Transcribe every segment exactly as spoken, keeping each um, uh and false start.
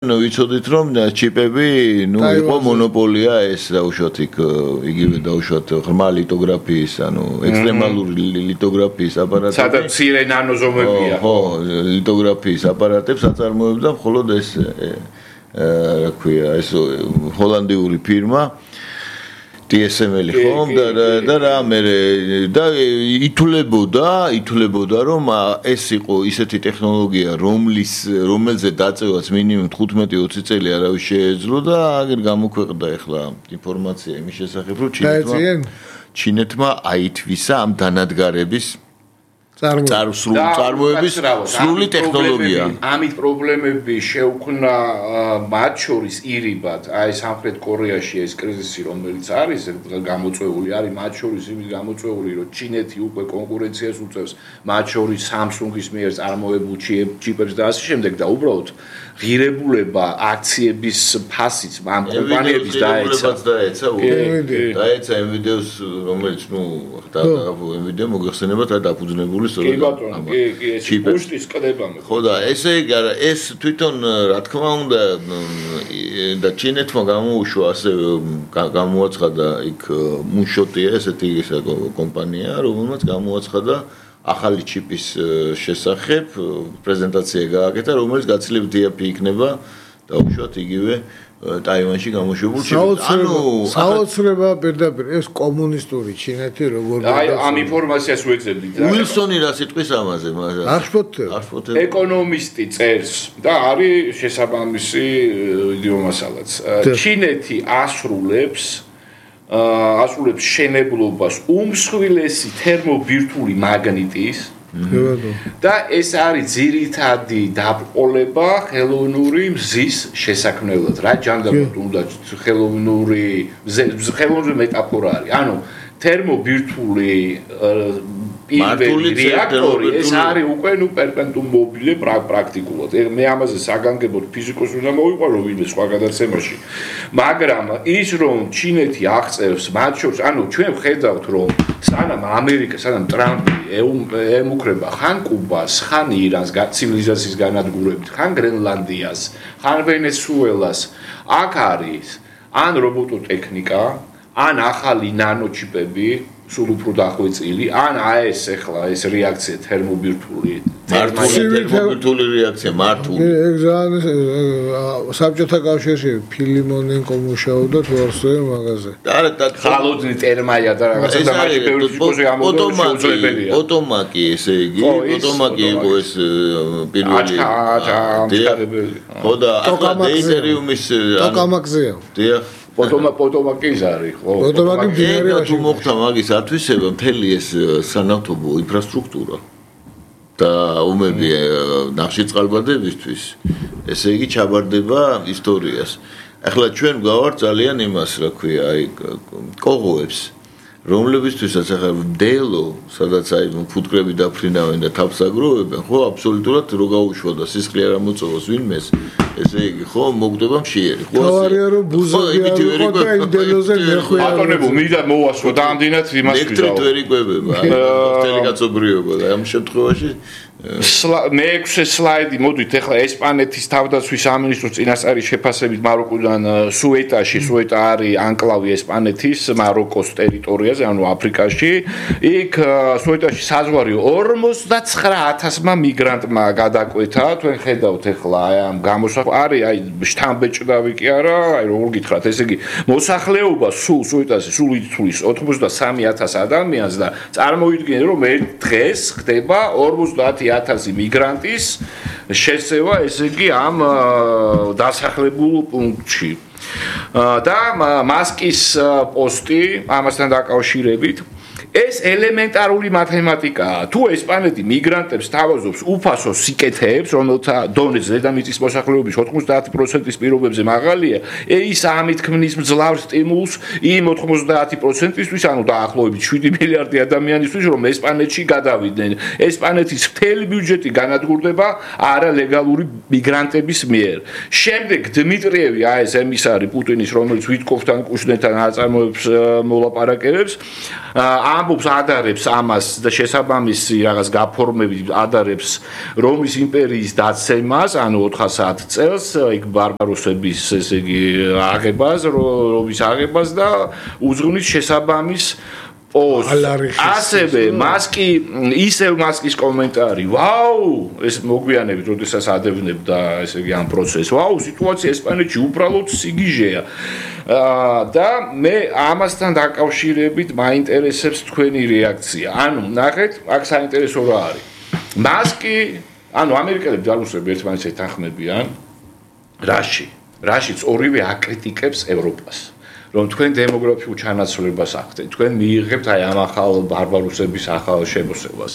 ნუ ვიცოდით რომ ჩიპები ნუ იყო მონოპოლია ეს დაუშვათ იქ იგივე დაუშვათ ღრმა ლითოგრაფიის ანუ ექსტრემალური ლითოგრაფიის აპარატები სადაც მცირე ნანოზომებია ხო ლითოგრაფიის აპარატებს აწარმოებდა მხოლოდ ეს რა ქვია ეს ჰოლანდიური ფირმა დი ეს ემ ელი ხომ და და რა მე და ითვლებოდა ითვლებოდა რომ ეს იყო ისეთი ტექნოლოგია რომლის რომელზე დაწევაც მინიმუმ თხუთმეტი ოცი წელი არავის შეეძლო და აგერ გამოქვეყნდა ახლა ინფორმაცია იმის შესახებ რომ ჩინეთმა ჩინეთმა აითვისა ამ დანადგარების წარმოების სრული ტექნოლოგია. ამით პრობლემები შეუქმნა მათ შორის ირიბად, აი სამხრეთ კორეაში ეს კრიზისი რომელიც არის, გამოწვეული არის მათ შორის იმის გამოწვეული, რომ ჩინეთი უკვე კონკურენციას უწევს მათ შორის Samsung-ის მიერ წარმოებულ ჩიპებს და ასე შემდეგ და უბრალოდ ღირებულება აქციების ფასიც ამ კომპანიების დაეცა. დაეცა, დაეცა Nvidia-ს, რომელიც ნუ და Nvidia მოგეხსენებათ რა დაფუძნებული კი ბატონო, კი, კი, ეს პუშტის კდება მე. ხო და ესე იგი არა, ეს თვითონ რა თქმა უნდა და ჩინეთმა გამოუშვა ასე გამოაცხადა იქ მუშოტია ესეთი კომპანია, რომელმაც გამოაცხადა ახალი ჩიპის შესახებ პრეზენტაცია გააკეთა, რომელიც გაცილებით დიაფი იქნება დაუშვათ იგივე ტაივანში გამოშვებულ ჩიპს. ანუ საოცრება პირდაპირ ეს კომუნისტური ჩინეთი როგორ აი ამ ინფორმაციას ვეძებდით და უილსონი რა სიტყვის ამაზე მაგრამ არხფოთე ეკონომისტი წერს და არის შესაბამისი იდეომასალაც ჩინეთი ასრულებს ასრულებს შენებლობას უმსხვილესი თერმობირთვული მაგნიტის და ეს არის ძირითადი დაბრკოლება ხელოვნური მზის შესაქმნელად რა ჯანდაბად უნდა ხელოვნური ხელოვნური მეტაფორა არის ანუ თერმობირთვული პირველი რეაქტორი ეს არის უკვე ნუ პერპენტუმ მობილე პრაქტიკულად მე ამაზე საგანგებოდ ფიზიკოს უნდა მოვიყვარო ვინმე სხვა გადაცემაში მაგრამ ის რომ ჩინეთი აღწევს მათ შორის ანუ ჩვენ ვხედავთ რომ სანამ ამერიკა სანამ ტრამპი ემუქრება ხან კუბას ხან ირანს ცივილიზაციის განადგურებით ხან გრენლანდიას ხან ვენესუელას აქ არის ან რობოტოტექნიკა ან ახალი ნანოჩიპები სულ უფრო დახვეწილი ან აეს ახლა ეს რეაქცია თერმობირთვული თერმობირთვული რეაქცია მართული ეგ ძალიან საბჭოთა კავშირში ფილიმონენკო მუშაობდა თორსოე მაგაზე და ხალოდნი ტერმაია და რაღაცა და მაშინ ბევრი ფიზიკოსი ამბობდა შეუძლებელია ოტომაკი ესე იგი ოტომაკი იყო ეს პირველი ხო და ახლა დეიტერიუმის ტოკამაკზეა დიახ პოტომა პოტომაკის არის ხო პოტომაკი მდინარეა თუ მოხდა მაგის ათვისება მთელი ეს სანავთობო ინფრასტრუქტურა და ომები ნახშირწყალბადებისთვის ესე იგი ჩაბარდება ისტორიას ახლა ჩვენ გავართ ძალიან იმას რა ქვია აი კოღოებს რომლებისთვისაც ახლა დელო სადაც აი ფუტკრები დაფრინავენ და თავს აგროვებენ ხო აბსოლუტურად რო გაუშვა და სისხლი არ ამოწევოს ვინმეს ესე იგი ხო მოგდება მშიერი ხო თავარია რომ ბუზები არ იყო და იმ დელოზე ნეხვია ბატონებო მინდა მოვასწრო დამდინათ იმას ვიდაო ელექტრით ვერ იკვებება მთელი კაცობრიობა და ამ შემთხვევაში მეექვსე სლაიდი მოდით ახლა ესპანეთის თავდაცვის სამინისტროს წინასწარი შეფასებით მაროკოდან სუეტაში სუეტა არის ანკლავი ესპანეთის მაროკოს ტერიტორიაზე ანუ აფრიკაში იქ სუეტაში საზღვარი ორმოცდაცხრა ათასმა მიგრანტმა გადაკვეთა თქვენ ხედავთ ახლა აი ამ გამოსახ არის აი შთამბეჭდავი კი არა აი როგორ გითხრათ ესე იგი მოსახლეობა სულ სუეტაში სულ ითვლის ოცდასამი ათას ადამიანს და წარმოვიდგინეთ რომ ერთ დღეს ხდება ორმოცდაათი ათასი მიგრანტის შესევა ესე იგი ამ დასახლებულ პუნქტში და მასკის პოსტი ამასთან დაკავშირებით ეს ელემენტარული მათემატიკაა. თუ ესპანეთი მიგრანტებს თავაზობს უფასო სიკეთეებს, რომელთა დონე ზედამიწის მოსახლეობის ოცდაათი პროცენტის პირობებზე მაღალია, ის ამით ქმნის მძლავრ სტიმულს იმ ოცდაათი პროცენტისთვის, ანუ დაახლოებით შვიდი მილიარდი ადამიანისთვის, რომ ესპანეთში გადავიდნენ. ესპანეთის მთელი ბიუჯეტი განადგურდება არალეგალური მიგრანტების მიერ. შემდეგ დმიტრიევი, აი ეს ემისარი პუტინის, რომელიც ვიტკოვთან კუშნეთთან აწარმოებს მოლაპარაკებებს, ამბობს ადარებს ამას და შესაბამისი რაღაც გაფორმებით ადარებს რომის იმპერიის დაცემას, ანუ ოთხასი წელს იქ ბარბაროსების ესე იგი აღებას, რომის აღებას და უძღვნის შესაბამის პოსტს. ასევე მას კი ისევ მასკის კომენტარი. ვაუ, ეს მოგვიანებით, როდესაც ადევნებდა ესე იგი ამ პროცესს. ვაუ, სიტუაცია ესპანეთში უბრალოდ სიგიჟეა. და მე ამასთან დაკავშირებით მაინტერესებს თქვენი რეაქცია. ანუ, ნახეთ, აქ საინტერესო რა არის. მასკი, ანუ ამერიკელები ჯარუსები ერთმანეთს ეთანხმებიან. რაში? რაშიც ორივე აკრიტიკებს ევროპას. რომ თქვენ დემოგრაფიულ ჩანაცვლებას ახდენთ, თქვენ მიიღებთ აი ამ ახალ ბარბაროსების ახალ შემოსევას.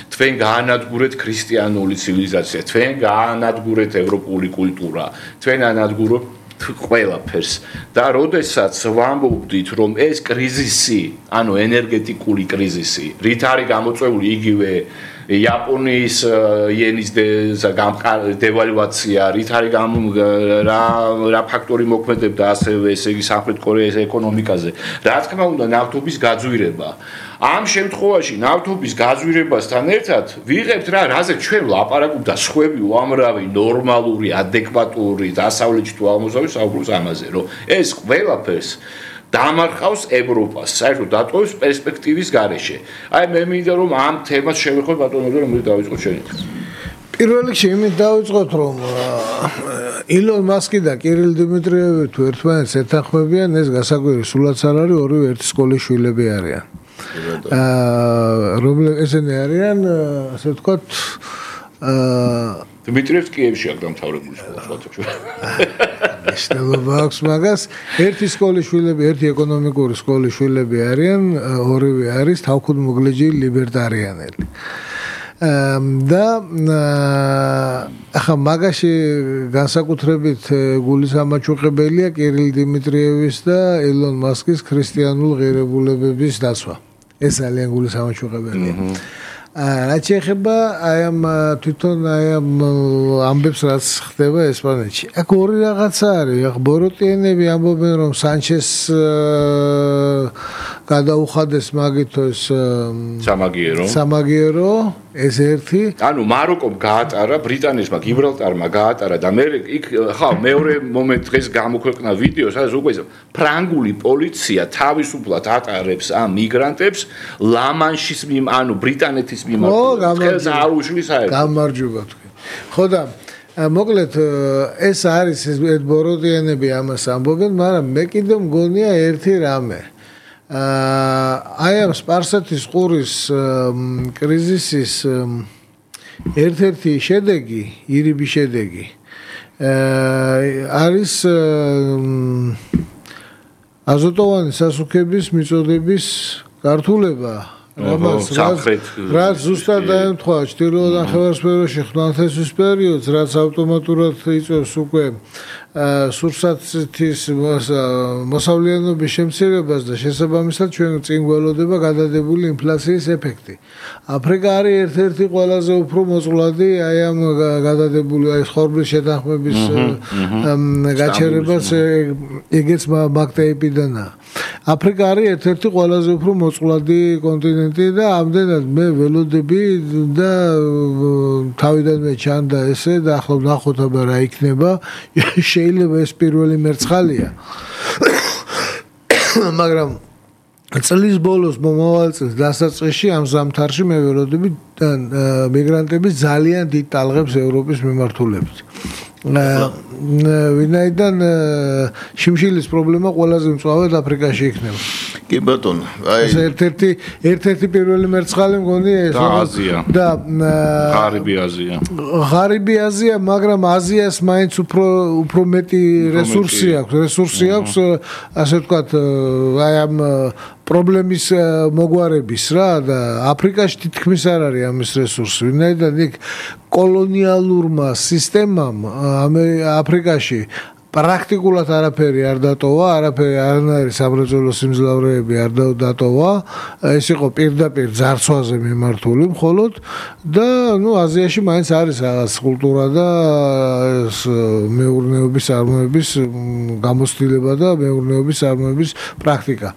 თქვენ გაანადგურეთ ქრისტიანული ცივილიზაცია, თქვენ გაანადგურეთ ევროპული კულტურა, თქვენ ანადგურებთ ყველაფერს. და როდესაც ვამბობდით, რომ ეს კრიზისი, ანუ ენერგეტიკული კრიზისი, რით არის გამოწვეული იგივე იაპონიის იენის დევალვაცია, რით არის რა რა ფაქტორი მოქმედებდა ასევე ესე იგი სამხრეთ კორეის ეკონომიკაზე. რა თქმა უნდა, ნავთობის გაძვირება. ამ შემთხვევაში ნავთობის გაძვირებასთან ერთად ვიღებთ რა, რაზე ჩვენ ვლაპარაკობთ და სხვები უამრავი ნორმალური, ადეკვატური დასავლეთში თუ აღმოსავლეთში საუბრობს ამაზე, რომ ეს ყველაფერს დამარხავს ევროპას, საერთოდ დატოვებს პერსპექტივის გარეშე. აი მე მინდა რომ ამ თემას შევეხოთ ბატონო რომ მე დავიწყოთ შენი. პირველ რიგში იმით დავიწყოთ რომ ილონ მასკი და კირილ დიმიტრიევი თუ ერთმანეთს ეთანხმებიან, ეს გასაკვირი სულაც არ არის, ორივე ერთი სკოლის შვილები არიან. აა რომლე ესენი არიან, ასე ვთქვათ, აა დიმიტრიევს კიევში აქ დამთავრებული სკოლა სხვათა. ისწავლება აქვს მაგას, ერთი სკოლის შვილები, ერთი ეკონომიკური სკოლის შვილები არიან, ორივე არის თავქუდმოგლეჯი ლიბერტარიანელი. და ახლა მაგაში განსაკუთრებით გულისამაჩუყებელია კირილ დიმიტრიევის და ილონ მასკის ქრისტიანულ ღირებულებების დაცვა. ეს ძალიან გულისამაჩუყებელია. რაც შეეხება აი ამ თვითონ აი ამ ამბებს რაც ხდება ესპანეთში. აქ ორი რაღაცა არის. ახ ბოროტიანები ამბობენ რომ სანჩეს გადაუხადეს მაგითოს სამაგიერო. სამაგიერო ეს ერთი. ანუ მაროკომ გაატარა, ბრიტანეთმა გიბრალტარმა გაატარა და მე იქ ხა მეორე მომენტ დღეს გამოქვეყნა ვიდეო, სადაც უკვე ფრანგული პოლიცია თავისუფლად ატარებს ამ მიგრანტებს ლა-მანშის მიმ, ანუ ბრიტანეთის მიმართ. ხელს არ უშლის საერთოდ. გამარჯობა თქვენ. ხო და მოკლედ ეს არის ეს ბოროტიანები ამას ამბობენ, მაგრამ მე კიდევ მგონია ერთი რამე. აი ამ სპარსეთის ყურის კრიზისის ერთ-ერთი შედეგი, ირიბი შედეგი არის აზოტოვანი სასუქების მიწოდების გართულება. რამაც რაც ზუსტად დაემთხვა ჩრდილოეთ ნახევარსფეროში ხმელთაშუა პერიოდს, რაც ავტომატურად იწვევს უკვე სურსათის მოსავლიანობის შემცირებას და შესაბამისად ჩვენ წინ გველოდება გადადებული ინფლაციის ეფექტი. აფრიკა არის ერთ-ერთი ყველაზე უფრო მოწყვლადი აი ამ გადადებული აი ხორბლის შეთანხმების გაჩერებას ეგეც მაგტაიპიდანაა. აფრიკა არის ერთ-ერთი ყველაზე უფრო მოწყვლადი კონტინენტი და ამდენად მე ველოდები და თავიდანვე ჩანდა ესე და ახლა ვნახოთ აბა რა იქნება. შეიძლება ეს პირველი მერცხალია. მაგრამ წლის ბოლოს მომავალ წელს დასაწყისში ამ ზამთარში მე ველოდები მიგრანტების ძალიან დიდ ტალღებს ევროპის მიმართულებით. ვინაიდან შიმშილის პრობლემა ყველაზე მწვავედ აფრიკაში იქნება. კი ბატონო, აი ეს ერთ-ერთი ერთ-ერთი პირველი მერცხალი მგონია ეს აზია და ღარიბი აზია. ღარიბი აზია, მაგრამ აზიას მაინც უფრო უფრო მეტი რესურსი აქვს, რესურსი აქვს, ასე ვთქვათ, აი ამ პრობლემის მოგვარების რა და აფრიკაში თითქმის არ არის ამის რესურსი. ვინაიდან იქ კოლონიალურმა სისტემამ აფრიკაში პრაქტიკულად არაფერი არ დატოვა, არაფერი არანაირი სამრეწველო სიმძლავრეები არ დატოვა. ეს იყო პირდაპირ ძარცვაზე მიმართული მხოლოდ და ნუ აზიაში მაინც არის რაღაც კულტურა და ეს მეურნეობის წარმოების გამოცდილება და მეურნეობის წარმოების პრაქტიკა.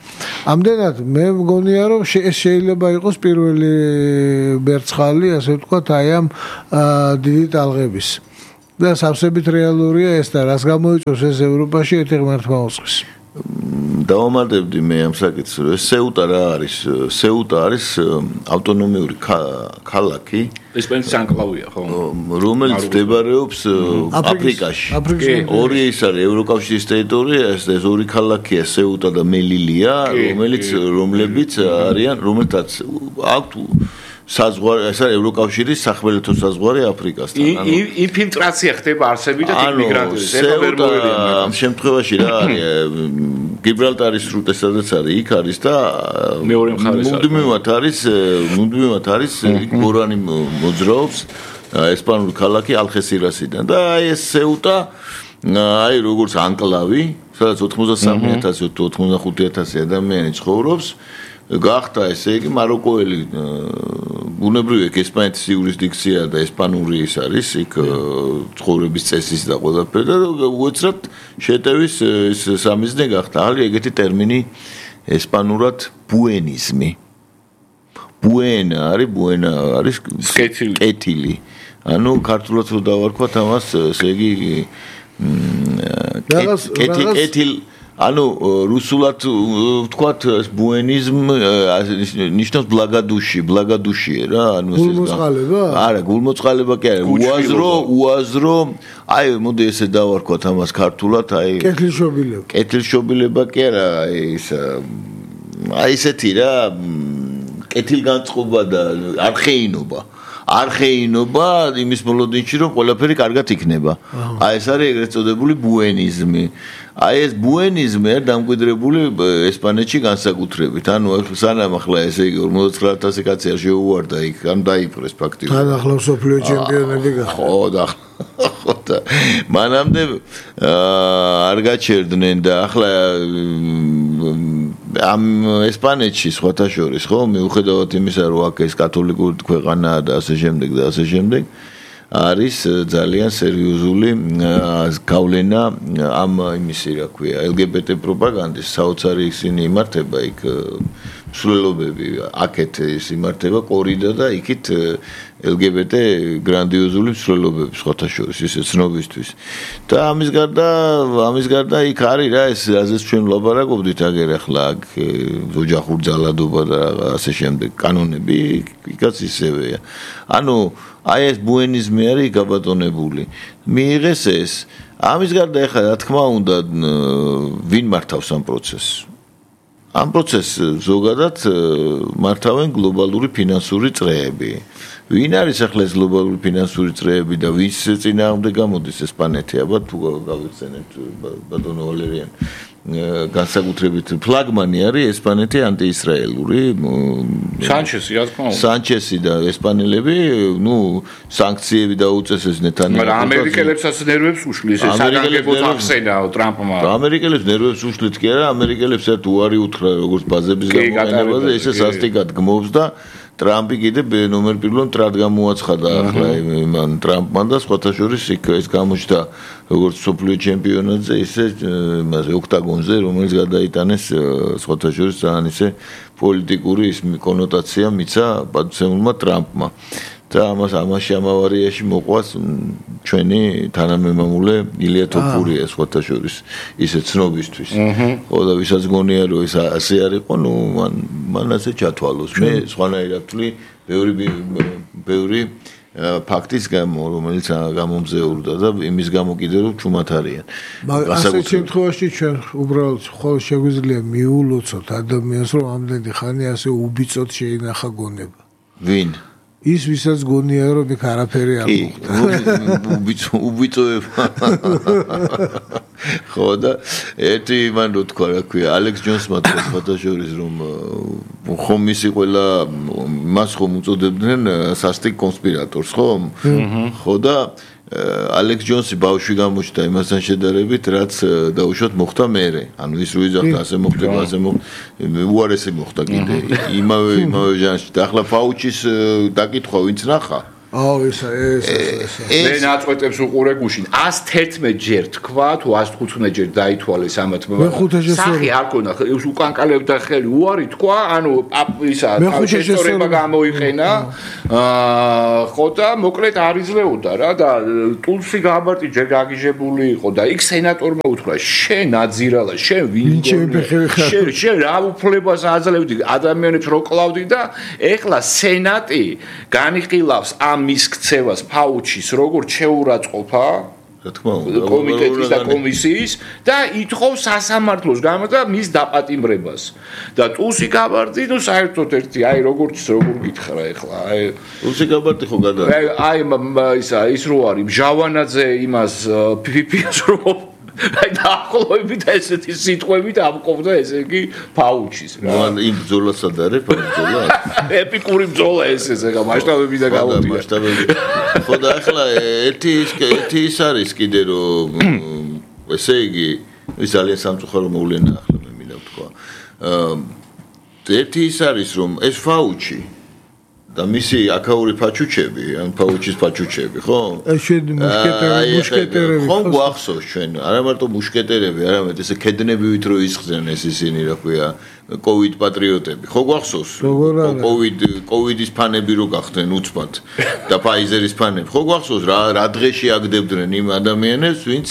ამდენად მე მგონია რომ ეს შეიძლება იყოს პირველი მერცხალი, ასე ვთქვათ, აი ამ დიდი ტალღების. და სავსებით რეალურია ეს და რას გამოიწვევს ეს ევროპაში ერთი ღმერთმა უწყის. დავამატებდი მე ამ საკითხს. სეუტა რა არის? სეუტა არის ავტონომიური ქალაქი. ესპანეთის ანკლავია, ხო? რომელიც მდებარეობს აფრიკაში. ორი ის არის ევროკავშირის ტერიტორია, ეს ორი ქალაქია სეუტა და მელილია, რომელიც რომლებიც არიან, რომელთაც აქვთ საზღვარი, ეს არის ევროკავშირის სახმელეთო საზღვარი აფრიკასთან. ინფილტრაცია ხდება არსებით და მიგრანტების ამ შემთხვევაში რა არის? გიბრალტარის სრუტე სადაც არის, იქ არის და მეორე მხარეს მუდმივად არის, მუდმივად არის იქ ბორანი მოძრაობს ესპანური ქალაქი ალხესირასიდან და აი ეს სეუტა აი როგორც ანკლავი, სადაც ოთხმოცდასამი ათასი ოცდახუთი ათასი ადამიანი ცხოვრობს. გახდა ესე იგი მაროკოელი ბუნებრივი ეგ ესპანეთის იურისდიქცია და ესპანური ის არის იქ ცხოვრების წესის და ყველაფერი და უეცრად შეტევის ეს სამიზნე გახდა. არის ეგეთი ტერმინი ესპანურად ბუენიზმი. ბუენა არის ბუენა არის კეთილი. ანუ ქართულად რო დავარქვათ ამას ესე იგი კეთილ ანუ რუსულად ვთქვათ ბუენიზმ ნიშნავს ბლაგადუში, ბლაგადუშია რა, ანუ ეს გულმოწყალება? არა, გულმოწყალება კი არა, უაზრო, უაზრო, აი მოდი ესე დავარქვათ ამას ქართულად, აი კეთილშობილება. კეთილშობილება კი არა, აი ის აი ესეთი რა, კეთილგანწყობა და არხეინობა. არხეინობა იმის მოლოდინში რომ ყველაფერი კარგად იქნება. აი ეს არის ეგრეთ წოდებული ბუენიზმი. აი ეს ბუენიზმი არის დამკვიდრებული ესპანეთში განსაკუთრებით. ანუ სანამ ახლა ესე იგი ორმოცდაოთხ ათასი კაცი არ შეუვარდა იქ, ან დაიპყრეს ფაქტიურად. თან ახლა მსოფლიო ჩემპიონები გახდა. ხო და ხო და მანამდე არ გაჩერდნენ და ახლა ამ ესპანეთში სხვათა შორის ხო მიუხედავად იმისა რომ აქ ეს კათოლიკური ქვეყანაა და ასე შემდეგ და ასე შემდეგ არის ძალიან სერიოზული გავლენა ამ იმისი რა ქვია ელ გი ბი ტი პროპაგანდის საოცარი ისინი იმართება იქ მსვლელობები აქეთ ის იმართება კორიდა და იქით ელ გი ბი ტი გრანდიოზული მსვლელობები სხვათა შორის ისე ცნობისთვის და ამის გარდა ამის გარდა იქ არის რა ეს რაზეც ჩვენ ვლაპარაკობდით აგერ ახლა აქ ოჯახურ ძალადობა და ასე შემდეგ კანონები იქაც ისევეა ანუ აი ეს ბუენიზმი არის გაბატონებული მიიღეს ეს ამის გარდა ახლა რა თქმა უნდა ვინ მართავს ამ პროცესს ამ პროცესს ზოგადად მართავენ გლობალური ფინანსური წრეები ვინ არის ახლა ეს გლობალური ფინანსური წრეები და ვის წინააღმდეგ გამოდის ესპანეთი აბა თუ გავიხსენებთ ბატონო ვალერიან განსაკუთრებით ფლაგმანი არის ესპანეთი ანტიისრაელური სანჩესი რა თქმა უნდა სანჩესი და ესპანელები ნუ სანქციები დაუწესეს ნეთანიაჰუს მაგრამ ამერიკელებსაც ნერვებს უშლის ეს საგანგებოდ ახსენა ტრამპმა ამერიკელებს ნერვებს უშლით კი არა ამერიკელებს ერთ უარი უთხრა როგორც ბაზების გამოყენებაზე ესე სასტიკად გმობს და ტრამპი კიდე ნომერ პირველ ტრად გამოაცხადა ახლა მან ტრამპმან და სხვათა შორის იქ ეს გამოჩნდა როგორც მსოფლიო ჩემპიონატზე ისე იმაზე ოქტაგონზე რომელიც გადაიტანეს სხვათა შორის ძალიან ისე პოლიტიკური ის კონოტაცია მიცა პატივცემულმა ტრამპმა და ამას ამაში ამავარიაში მოყვას ჩვენი თანამემამულე ილია თოფურია სხვათა შორის ისე ცნობისთვის ხო და ვისაც გონია რომ ეს ასე არ იყო ნუ მან მან ასე ჩათვალოს მე სხვანაირად ვთვლი ბევრი ბევრი ფაქტის გამო რომელიც გამომზეურდა და იმის გამო კიდე რომ ჩუმად არიან მაგრამ ასეთ შემთხვევაში ჩვენ უბრალოდ ხოლმე შეგვიძლია მიულოცოთ ადამიანს რომ ამდენი ხანი ასე უბიწოდ შეინახა გონება ვინ ის ვისაც გონია რომ იქ არაფერი არ მოხდა უბიწო უბიწოება ხო და ერთი მან რო თქვა რა ქვია ალექს ჯონსმა თქვა ფოტოშორის რომ ხომ ისი ყველა მას ხომ უწოდებდნენ სასტიკ კონსპირატორს ხო ხო და ალექს ჯონსი ბავშვი გამოჩნდა იმასთან შედარებით, რაც დაუშვათ მოხდა მერე. ანუ ის რო იძახდა ასე მოხდება, ასე მოხდა, უარესი მოხდა კიდე. იმავე იმავე ჟანრში. და ახლა ფაუჩის დაკითხვა ვინც ნახა? აუ ეს ეს მე ნაწყვეტებს უყურე გუშინ ას თერთმეტ ჯერ თქვა თუ ას თხუთმეტ ჯერ დაითვალეს ამათ სახი არ ქონა ის უკანკალებდა ხელი უარი თქვა ანუ ისა შეწორება გამოიყენა ხო და მოკლედ არ იძლეოდა რა და ტულსი გაბარტი ჯერ გაგიჟებული იყო და იქ სენატორმა უთხრა შენ აძირალა შენ ვინ შენ შენ რა უფლებას აძლევდი ადამიანებს რო კლავდი და ეხლა სენატი განიხილავს ამ მის ქცევას ფაუჩის როგორც შეურაცხყოფა რა თქმა უნდა კომიტეტის და კომისიის და ითხოვს სასამართლოს გამო და მის დაპატიმრებას და ტულსი გაბარტი ნუ საერთოდ ერთი აი როგორც როგორ გითხრა ეხლა აი ტულსი გაბარტი ხო გადა აი ისა ის რო არის მჟავანაძე იმას ფიფიას რო აი დაახლოებით ესეთი სიტყვებით ამყოფდა ესე იგი ფაუჩის რა. მან იმ ბრძოლასად არის ბრძოლა. ეპიკური ბრძოლა ეს ესე რა მასშტაბები და გავუტია. მასშტაბები. ხო და ახლა ერთი ერთი ის არის კიდე რომ ესე იგი ის ძალიან სამწუხარო მოვლენა ახლა მე მინდა ვთქვა. ერთი ის არის რომ ეს ფაუჩი და მისი აკაური ფაჩუჩები, ან ფაუჩის ფაჩუჩები, ხო? ეს შენ მუშკეტერები, მუშკეტერები. ხო გვახსოვს ჩვენ, არა მარტო მუშკეტერები, არამედ ესე ქედნებივით რო ისხდნენ ეს ისინი, რა ქვია, კოვიდ პატრიოტები. ხო გვახსოვს? კოვიდ კოვიდის ფანები რო გახდნენ უცბად და ფაიზერის ფანები. ხო გვახსოვს რა რა დღეში აგდებდნენ იმ ადამიანებს, ვინც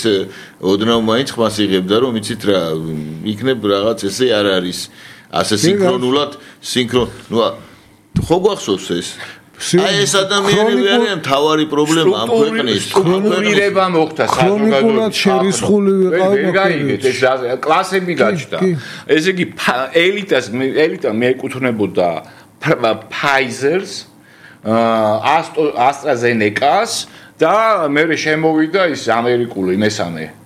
ოდნავ მაინც ხმას იღებდა, რომ იცით რა, იქნებ რაღაც ესე არ არის ასე სინქრონულად სინქრონ, ნუ ხო გვახსოვს ეს? აი ეს ადამიანები არიან მთავარი პრობლემა ამ ქვეყნის. ქრონიკულება მოხდა საზოგადოებრივად შერისხული ვიყავდა. ეს კლასები გაჩნდა. ესე იგი ელიტას ელიტა მიეკუთვნებოდა Pfizer-ს, AstraZeneca-ს და მე შემოვიდა ის ამერიკული მესამე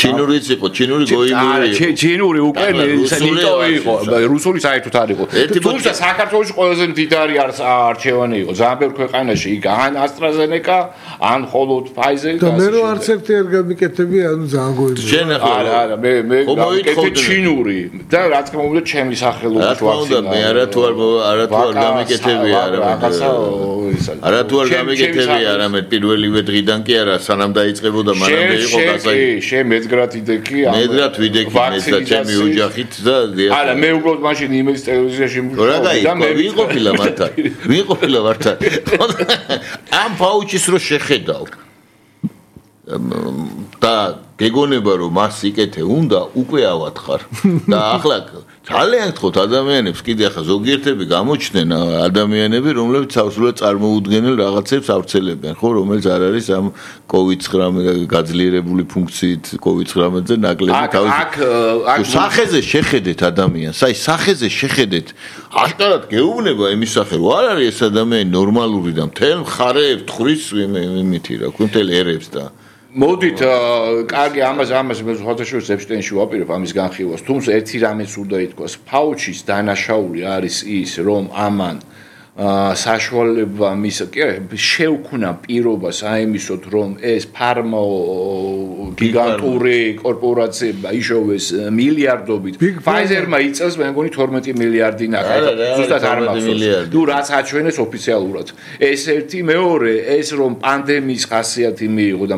ჩინურიც იყო, ჩინური გოიმური იყო. ჩინური უკვე ნიტო იყო, რუსული საერთოდ არ იყო. თუმცა საქართველოში ყველაზე მდიდარი არჩევანი იყო. ძალიან ბევრ ქვეყანაში იქ ან AstraZeneca, ან მხოლოდ Pfizer და მე რო არც ერთი არ გამიკეთები, ანუ ძალიან გოიმური. შენ ახლა არა, არა, მე მე გამიკეთე ჩინური და რა თქმა უნდა ჩემი სახელობის ვაქცინა. მე არა თუ არ არა თუ არ გამიკეთები, არამედ არა თუ არ გამიკეთები, არამედ პირველივე დღიდან კი არა, სანამ დაიწყებოდა მანამდე იყო გასაგები. შენ მეძგრად იდექი ამ მეძგრად ვიდექი მეც და ჩემი ოჯახით და არა მე უბრალოდ მაშინ იმედის ტელევიზიაში მუშაობდი და მე ვიყოფილა მართა ვიყოფილა მართა ამ ფაუჩის რო შეხედავ და გეგონება რომ მას იკეთე უნდა უკვე ავათხარ და ახლა ძალიან გთხოვთ ადამიანებს კიდე ახლა ზოგიერთები გამოჩნდნენ ადამიანები რომლებიც სავსულად წარმოუდგენელ რაღაცებს ავრცელებენ ხო რომელიც არ არის ამ კოვიდ ცხრამეტ გაძლიერებული ფუნქციით კოვიდ ცხრამეტზე ნაკლები თავის აქ აქ სახეზე შეხედეთ ადამიანს აი სახეზე შეხედეთ აშკარად გეუბნება იმის სახე რომ არ არის ეს ადამიანი ნორმალური და მთელ მხარეებს თხრის იმითი რა ქვია მთელ ერებს და მოდით კარგი ამას ამას მე ხოთაშორის ეპშტეინში ვაპირებ ამის განხილვას თუმცა ერთი რამეც უნდა ითქვას ფაუჩის დანაშაული არის ის რომ ამან საშუალება მის შეუქმნა პირობას აემისოთ რომ ეს ფარმო გიგანტური კორპორაციებმა იშოვეს მილიარდობით Pfizer-მა იწელს მე მგონი თორმეტი მილიარდი ნახა ზუსტად არ მახსოვს ნუ რაც აჩვენეს ოფიციალურად ეს ერთი მეორე ეს რომ პანდემიის ხასიათი მიიღო და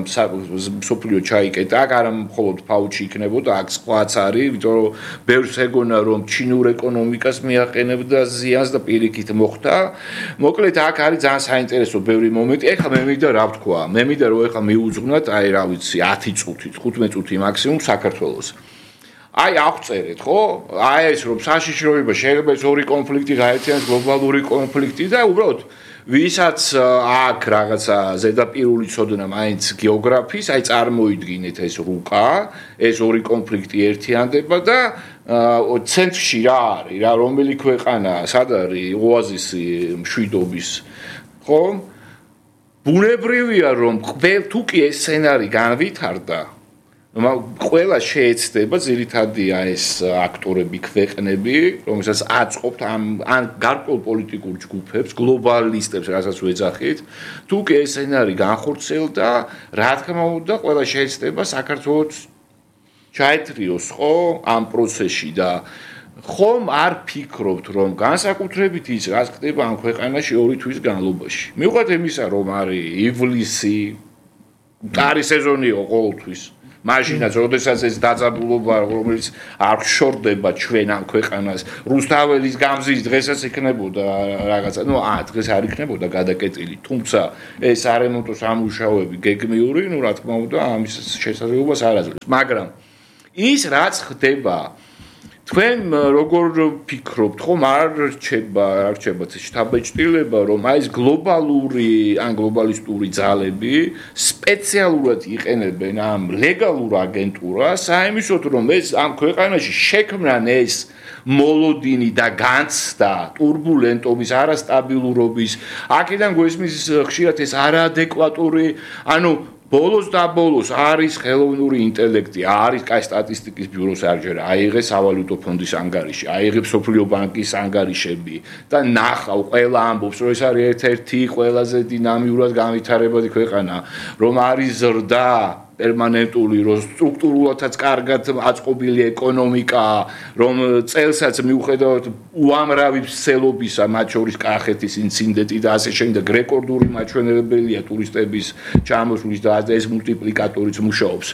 მსოფლიო ჩაიკეტა აქ არა მხოლოდ ფაუჩი იქნებოდა აქ სხვაც არის იმიტომ რომ ბევრს ეგონა რომ ჩინურ ეკონომიკას მიაყენებდა ზიანს და პირიქით მოხდა მოკლედ აქ არის ძალიან საინტერესო ბევრი მომენტი. ეხლა მე მინდა რა ვთქვა? მე მინდა რომ ეხლა მიუძღვნათ აი რა ვიცი ათი წუთი, თხუთმეტ წუთი მაქსიმუმ საქართველოს. აი აღწერეთ, ხო? აი ეს რომ საშიშროება შეიძლება ეს ორი კონფლიქტი გაერთიანოს გლობალური კონფლიქტი და უბრალოდ ვისაც აქ რაღაცა ზედაპირული ცოდნა მაინც გეოგრაფიის, აი წარმოიდგინეთ ეს რუკა, ეს ორი კონფლიქტი ერთიანდება და ცენტრში რა არის, რა რომელი ქვეყანა, სად არის ოაზისი მშვიდობის, ხო? ბუნებრივია რომ თუ კი ეს სცენარი განვითარდა ყველა შეეცდება ძირითადია ეს აქტორები, ქვეყნები, რომელსაც აწყობთ ამ ან გარკვეულ პოლიტიკურ ჯგუფებს, გლობალისტებს, რასაც ვეძახით, თუ კი ეს სცენარი განხორციელდა, რა თქმა უნდა, ყველა შეეცდება საქართველოს ჩაეთრიოს ხო ამ პროცესში და ხომ არ ფიქრობთ, რომ განსაკუთრებით ის რაც ხდება ამ ქვეყანაში ორი თვის განმავლობაში. მივხვდეთ იმისა, რომ არის ივლისი, არის სეზონი ყოველთვის. მაშინაც, როდესაც ეს დაძაბულობა, რომელიც არ შორდება ჩვენ ამ ქვეყანას, რუსთაველის გამზის დღესაც იქნებოდა რაღაცა, ну, ა, დღეს არ იქნებოდა გადაკეტილი, თუმცა ეს არემონტო სამუშაოები გეგმიური, ну, რა თქმა უნდა, ამის შესაძლებლობას არ აძლევს. მაგრამ ის რაც ხდება თქვენ როგორ ფიქრობთ, ხომ არ რჩება, არ რჩება შტაბ-ჭრილება, რომ აი ეს გლობალური, ან გლობალისტური ძალები სპეციალურად იყენებენ ამ ლეგალურ აგენტურას, საიმისოდ რომ ეს ამ ქვეყანაში შექმნან ეს მოლოდინი და განცდა турბულენტობის, არასტაბილურობის, აქედან გვესმის ხშირად ეს არაადეკვატური, ანუ ბოლოს და ბოლოს არის ხელოვნური ინტელექტი, არის კაი სტატისტიკის ბიუროს არჯერა, აიღე სავალუტო ფონდის ანგარიში, აიღე სოფლიო ბანკის ანგარიშები და ნახავ, ყველა ამბობს, რომ ეს არის ერთ-ერთი ყველაზე დინამიურად განვითარებადი ქვეყანა, რომ არის ზრდა პერმანენტული, რომ სტრუქტურულადაც კარგად აწყობილი ეკონომიკა, რომ წელსაც მიუხედავად უამრავი მსელობისა, მათ შორის კახეთის ინციდენტი და ასე შემდეგ, რეკორდული მაჩვენებელია ტურისტების ჩამოსვლის და ეს მულტიპლიკატორიც მუშაობს.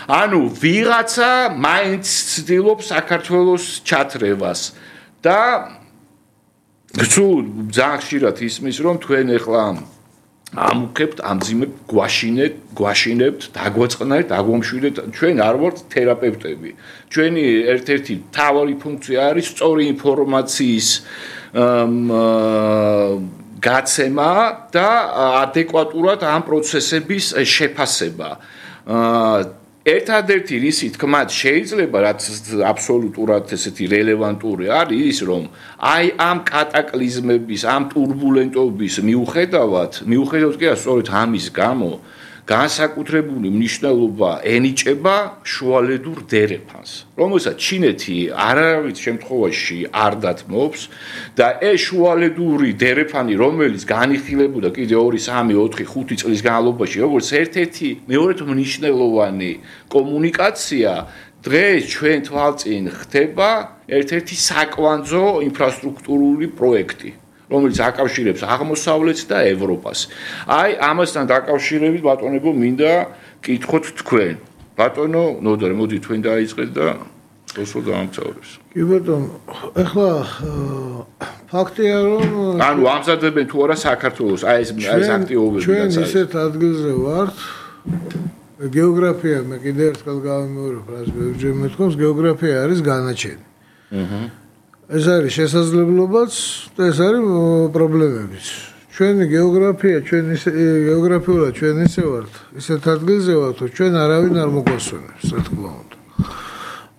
ანუ ვიღაცა მაინც ცდილობს საქართველოს ჩათრევას და სულ ძალიან ხშირად ისმის, რომ თქვენ ეხლა ამუქებთ, ამძიმებთ, გვაშინეთ, გვაშინებთ, დაგვეწყნარით, დაგვომშვიდეთ, ჩვენ არ ვართ თერაპევტები. ჩვენი ერთ-ერთი მთავარი ფუნქცია არის სწორი ინფორმაციის გაცემა და ადეკვატურად ამ პროცესების შეფასება. ერთადერთი რისი თქმაც შეიძლება, რაც აბსოლუტურად ესეთი რელევანტური არის ის, რომ აი ამ კატაკლიზმების, ამ турბულენტობის მიუხედავად, მიუხედავად კი სწორედ ამის გამო განსაკუთრებული მნიშვნელობა ენიჭება შუალედურ დერეფანს, რომელსაც ჩინეთი არავის შემთხვევაში არ დათმობს და ეს შუალედური დერეფანი, რომელიც განიხილებოდა კიდე ორი, სამი, ოთხი, ხუთი წლის განმავლობაში, როგორც ერთ-ერთი მეორედ მნიშვნელოვანი კომუნიკაცია, დღეს ჩვენ თვალწინ ხდება ერთ-ერთი საკვანძო ინფრასტრუქტურული პროექტი, რომელიც აკავშირებს აღმოსავლეთს და ევროპას. აი, ამასთან დაკავშირებით ბატონებო მინდა კითხოთ თქვენ. ბატონო ნოდარ, მოდი თქვენ დაიწყეთ და ოსო დაამთავრებს. კი ბატონო, ახლა ფაქტია რომ ანუ ამზადებენ თუ არა საქართველოს აი ეს ეს აქტივობები ჩვენ ისეთ ადგილზე ვართ. გეოგრაფია მე კიდევ ერთხელ გავიმეორებ, რაც ბევრჯერ მეთქოს, გეოგრაფია არის განაჩენი. აჰა. ეს არის შესაძლებლობაც და ეს არის პრობლემებიც. ჩვენი გეოგრაფია, ჩვენ ისე გეოგრაფიულად ჩვენ ისე ვართ, ისეთ ადგილზე ვართ, რომ ჩვენ არავინ არ მოგვასვენებს, რა თქმა უნდა.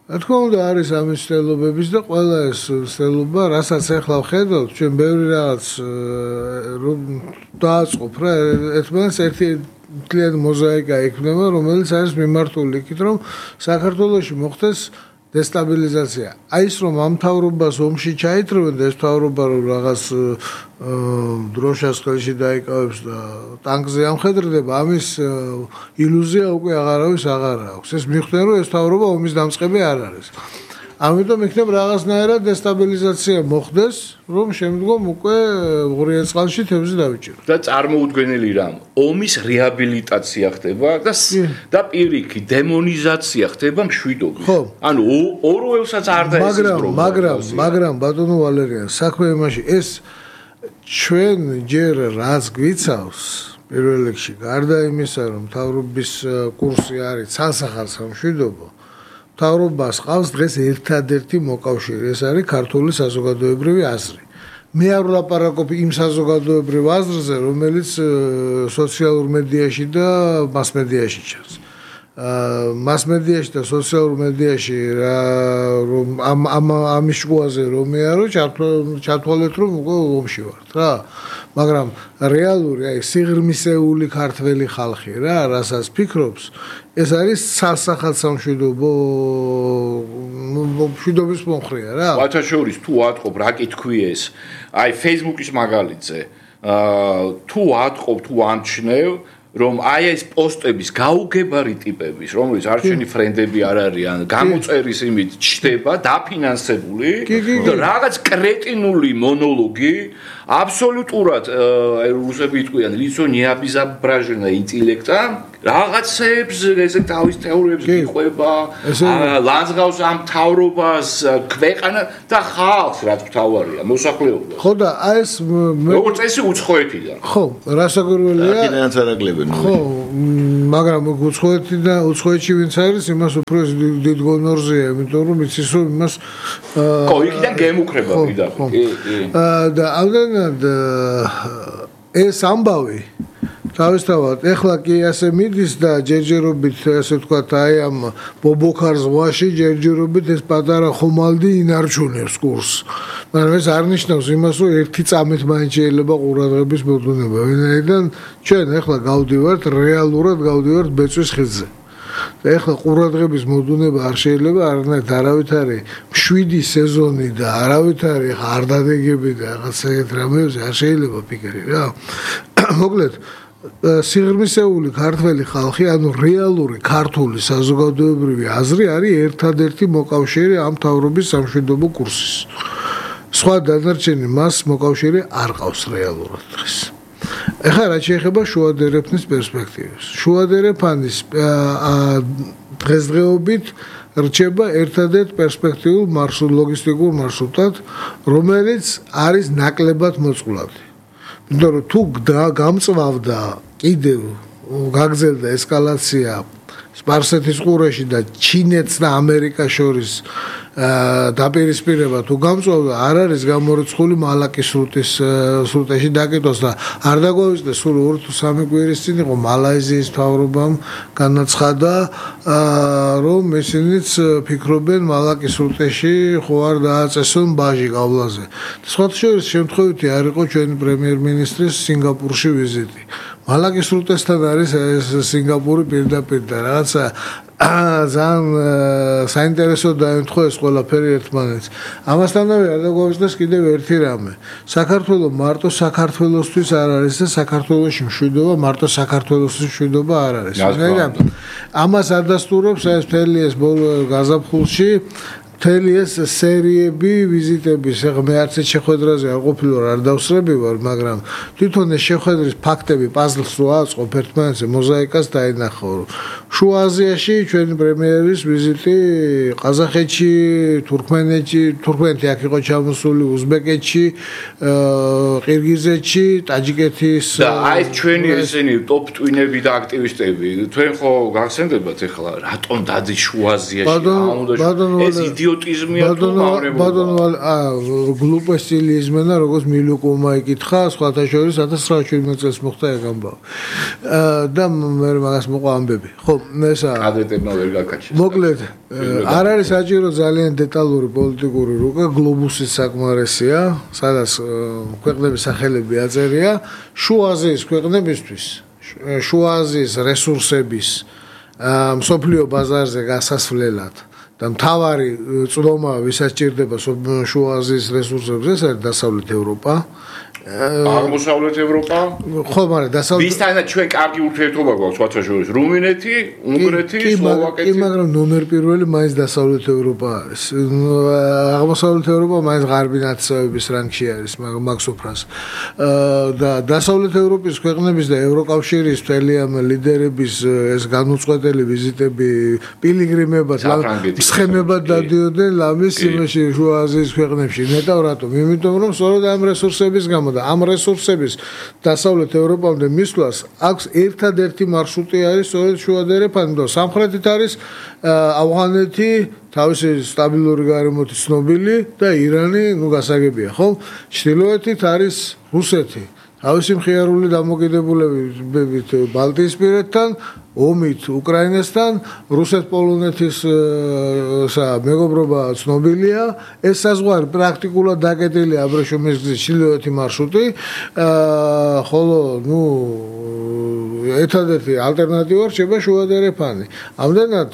რა თქმა უნდა არის ამის ცდელობების და ყველა ეს ცდელობა, რასაც ახლა ვხედავთ, ჩვენ ბევრი რაღაც დააწყობ რა, ერთმანეთს ერთი მთლიანი მოზაიკა ექნება, რომელიც არის მიმართული იქით, რომ საქართველოში მოხდეს დესტაბილიზაცია. აი ის რომ ამ მთავრობას ომში ჩაითრევენ და ეს მთავრობა რომ რაღაც დროშას ხელში დაიკავებს და ტანკზე ამხედრდება, ამის ილუზია უკვე აღარავის აღარ აქვს. ეს მიხვდნენ რომ ეს მთავრობა ომის დამწყები არ არის. ამიტომ იქნებ რაღაცნაირად დესტაბილიზაცია მოხდეს, რომ შემდგომ უკვე ღურიელ წყალში თევზი დავიჭიროთ. და წარმოუდგენელი რამ, ომის რეაბილიტაცია ხდება და და პირიქით დემონიზაცია ხდება მშვიდობის. ანუ ორველსაც არ დაესწრო. მაგრამ, მაგრამ, მაგრამ ბატონო ვალერიან, საქმე იმაში, ეს ჩვენ ჯერ რაც გვიცავს, პირველ რიგში, გარდა იმისა, რომ მთავრობის კურსი არის ცალსახარსა მშვიდობა, მთავრობას ყავს დღეს ერთადერთი მოკავშირე, ეს არის ქართული საზოგადოებრივი აზრი. მე არ ვლაპარაკობ იმ საზოგადოებრივ აზრზე, რომელიც სოციალურ მედიაში და მასმედიაში ჩანს. მასმედიაში და სოციალურ მედიაში რომ ამ ამ ამის შუაზე რომ მეარო ჩათვალეთ რომ უკვე ომში ვართ რა მაგრამ რეალური აი სიღრმისეული ქართველი ხალხი რა რასაც ფიქრობს ეს არის სასახალსამშვიდობო მშვიდობის მომხრეა რა ვაჩაშორის თუ ატყობ რა კითხვი ეს აი Facebook-ის მაგალითზე თუ ატყობ თუ ამჩნევ რომ აი ეს პოსტების გაუგებარი ტიპების, რომელიც არჩენი ფრენდები არ არიან, გამოწერის იმით ჩდება დაფინანსებული და რაღაც კრეტინული მონოლოგი აბსოლუტურად რუსები იტყვიან лицо необезображенное интеллекта რაღაცებს ესე თავის თეორიებს გიყვება ლანძღავს ამ თავრობას ქვეყანა და ხალხს რაც მთავარია მოსახლეობა ხო და აი ეს როგორც წესი უცხოეთიდან ხო რასაკვირველია აქედანაც არაკლებენ ხო მაგრამ უცხოეთი და უცხოეთში ვინც არის იმას უფრო დიდ გონორზეა იმიტომ რომ იცის რომ იმას ხო იქიდან გემუქრება პირდაპირ კი კი და ამდენად ეს ამბავი თავისთავად ეხლა კი ასე მიდის და ჯერჯერობით ასე ვთქვათ აი ამ ბობოქარ ზღვაში ჯერჯერობით ეს პატარა ხომალდი ინარჩუნებს კურსს მაგრამ ეს არ ნიშნავს იმას რომ ერთი წამით მაინც შეიძლება ყურადღების მოდუნება ვინაიდან ჩვენ ეხლა გავდივართ რეალურად გავდივართ ბეწვის ხიდზე და ეხლა ყურადღების მოდუნება არ შეიძლება არანაირად არავით არის მშვიდი სეზონი და არავით არის არ დადეგები და რაღაც ეგეთ რამეებზე არ შეიძლება ფიქრი რა მოკლედ სიღრმისეული ქართველი ხალხი, ანუ რეალური ქართული საზოგადოებრივი აზრი არის ერთადერთი მოკავშირე ამ თავრობის სამშვიდობო კურსის. სხვა დანარჩენი მას მოკავშირე არ ყავს რეალურად დღეს. ეხლა რაც შეეხება შუადერეფნის პერსპექტივას. შუადერეფანის დღესდღეობით რჩება ერთადერთ პერსპექტიულ მარშრუტ ლოგისტიკურ მარშრუტად, რომელიც არის ნაკლებად მოწყვლადი. იმიტომ რომ თუ გამწვავდა კიდევ გაგრძელდა ესკალაცია სპარსეთის ყურეში და ჩინეთს და ამერიკას შორის დაპირისპირება თუ გამწვავდა არ არის გამორიცხული მალაკის სრუტის სრუტეში დაკეტოს და არ დაგვავიწყდეს სულ ორი თუ სამი კვირის წინ იყო მალაიზიის მთავრობამ განაცხადა რომ ისინიც ფიქრობენ მალაკის სრუტეში ხო არ დააწესონ ბაჟი გავლაზე სხვათა შორის შემთხვევითი არ იყო ჩვენი პრემიერ-მინისტრის სინგაპურში ვიზიტი მალაკის სრუტესთან არის სინგაპური პირდაპირ და რაღაცა ძალიან საინტერესო დაემთხვა ეს ყველაფერი ერთმანეთს. ამასთანავე არ დაგვაუწყდეს კიდევ ერთი რამე. საქართველოს მარტო საქართველოსთვის არ არის და საქართველოში მშვიდობა მარტო საქართველოსთვის მშვიდობა არ არის. ამას ადასტურებს ეს მთელი ეს ბოლო გაზაფხულში მთელი ეს სერიები ვიზიტების ეხლა მე არც შეხვედრაზე არ ყოფილი ვარ არ დავსრები ვარ მაგრამ თვითონ ეს შეხვედრის ფაქტები პაზლს რო აწყობ ერთმანეთზე მოზაიკას დაინახო შუა აზიაში ჩვენი პრემიერის ვიზიტი ყაზახეთში თურქმენეთში თურქმენეთი აქ იყო ჩამოსული უზბეკეთში ყირგიზეთში ტაჯიკეთის და აი ჩვენი ესენი ტოპ ტვინები და აქტივისტები თქვენ ხო გახსენდებათ ეხლა რატომ დადის შუა აზიაში ეს იდიოტიზმია თუ მავნებობა ბატონო აა გლუპესილი იზმენა როგორც მილუკომა იკითხა სხვათა შორის ათას ცხრაათი წელს მოხდა ეგ ამბავი და მე მაგას მოყვა ამბები ხო ესა ადეტებმა ვერ გაკაჩეს მოკლედ არ არის საჭირო ძალიან დეტალური პოლიტიკური რუკა გლობუსის საკმარისია სადაც ქვეყნების სახელები აწერია შუა აზიის ქვეყნებისთვის შუა აზიის რესურსების მსოფლიო ბაზარზე გასასვლელად და მთავარი წვდომა ვისაც ჭირდება შუა აზიის რესურსებს ეს არის დასავლეთ ევროპა აღმოსავლეთ ევროპა ხო მაგრამ დასავლეთ ვისთანაც ჩვენ კარგი ურთიერთობა გვაქვს სხვათა შორის რუმინეთი, უნგრეთი, სლოვაკეთი კი მაგრამ ნომერ პირველი მაინც დასავლეთ ევროპა არის აღმოსავლეთ ევროპა მაინც ღარბი ნაცნობების რანგში არის მაგ სოფრას და დასავლეთ ევროპის ქვეყნების და ევროკავშირის მთელი ამ ლიდერების ეს განუწყვეტელი ვიზიტები პილიგრიმებად სხემებად დადიოდნენ ლამის იმაში შუა აზიის ქვეყნებში ნეტავ რატომ იმიტომ რომ სწორედ ამ რესურსების გამო და ამ რესურსების დასავლეთ ევროპამდე მისვლას აქვს ერთადერთი მარშრუტი არის სწორედ შუადერეფანი და სამხრეთით არის ავღანეთი თავისი სტაბილური გარემოთი ცნობილი და ირანი ნუ გასაგებია ხო ჩრდილოეთით არის რუსეთი თავისი მხიარული დამოკიდებულებით ბალტიისპირეთთან, ომით უკრაინასთან, რუსეთ-პოლონეთის მეგობრობა ცნობილია. ეს საზღვარი პრაქტიკულად დაკეტილია აბრეშუმის გზის ჩრდილოეთი მარშრუტი, ხოლო ნუ ერთადერთი ალტერნატივა რჩება შუადერეფანი. ამდენად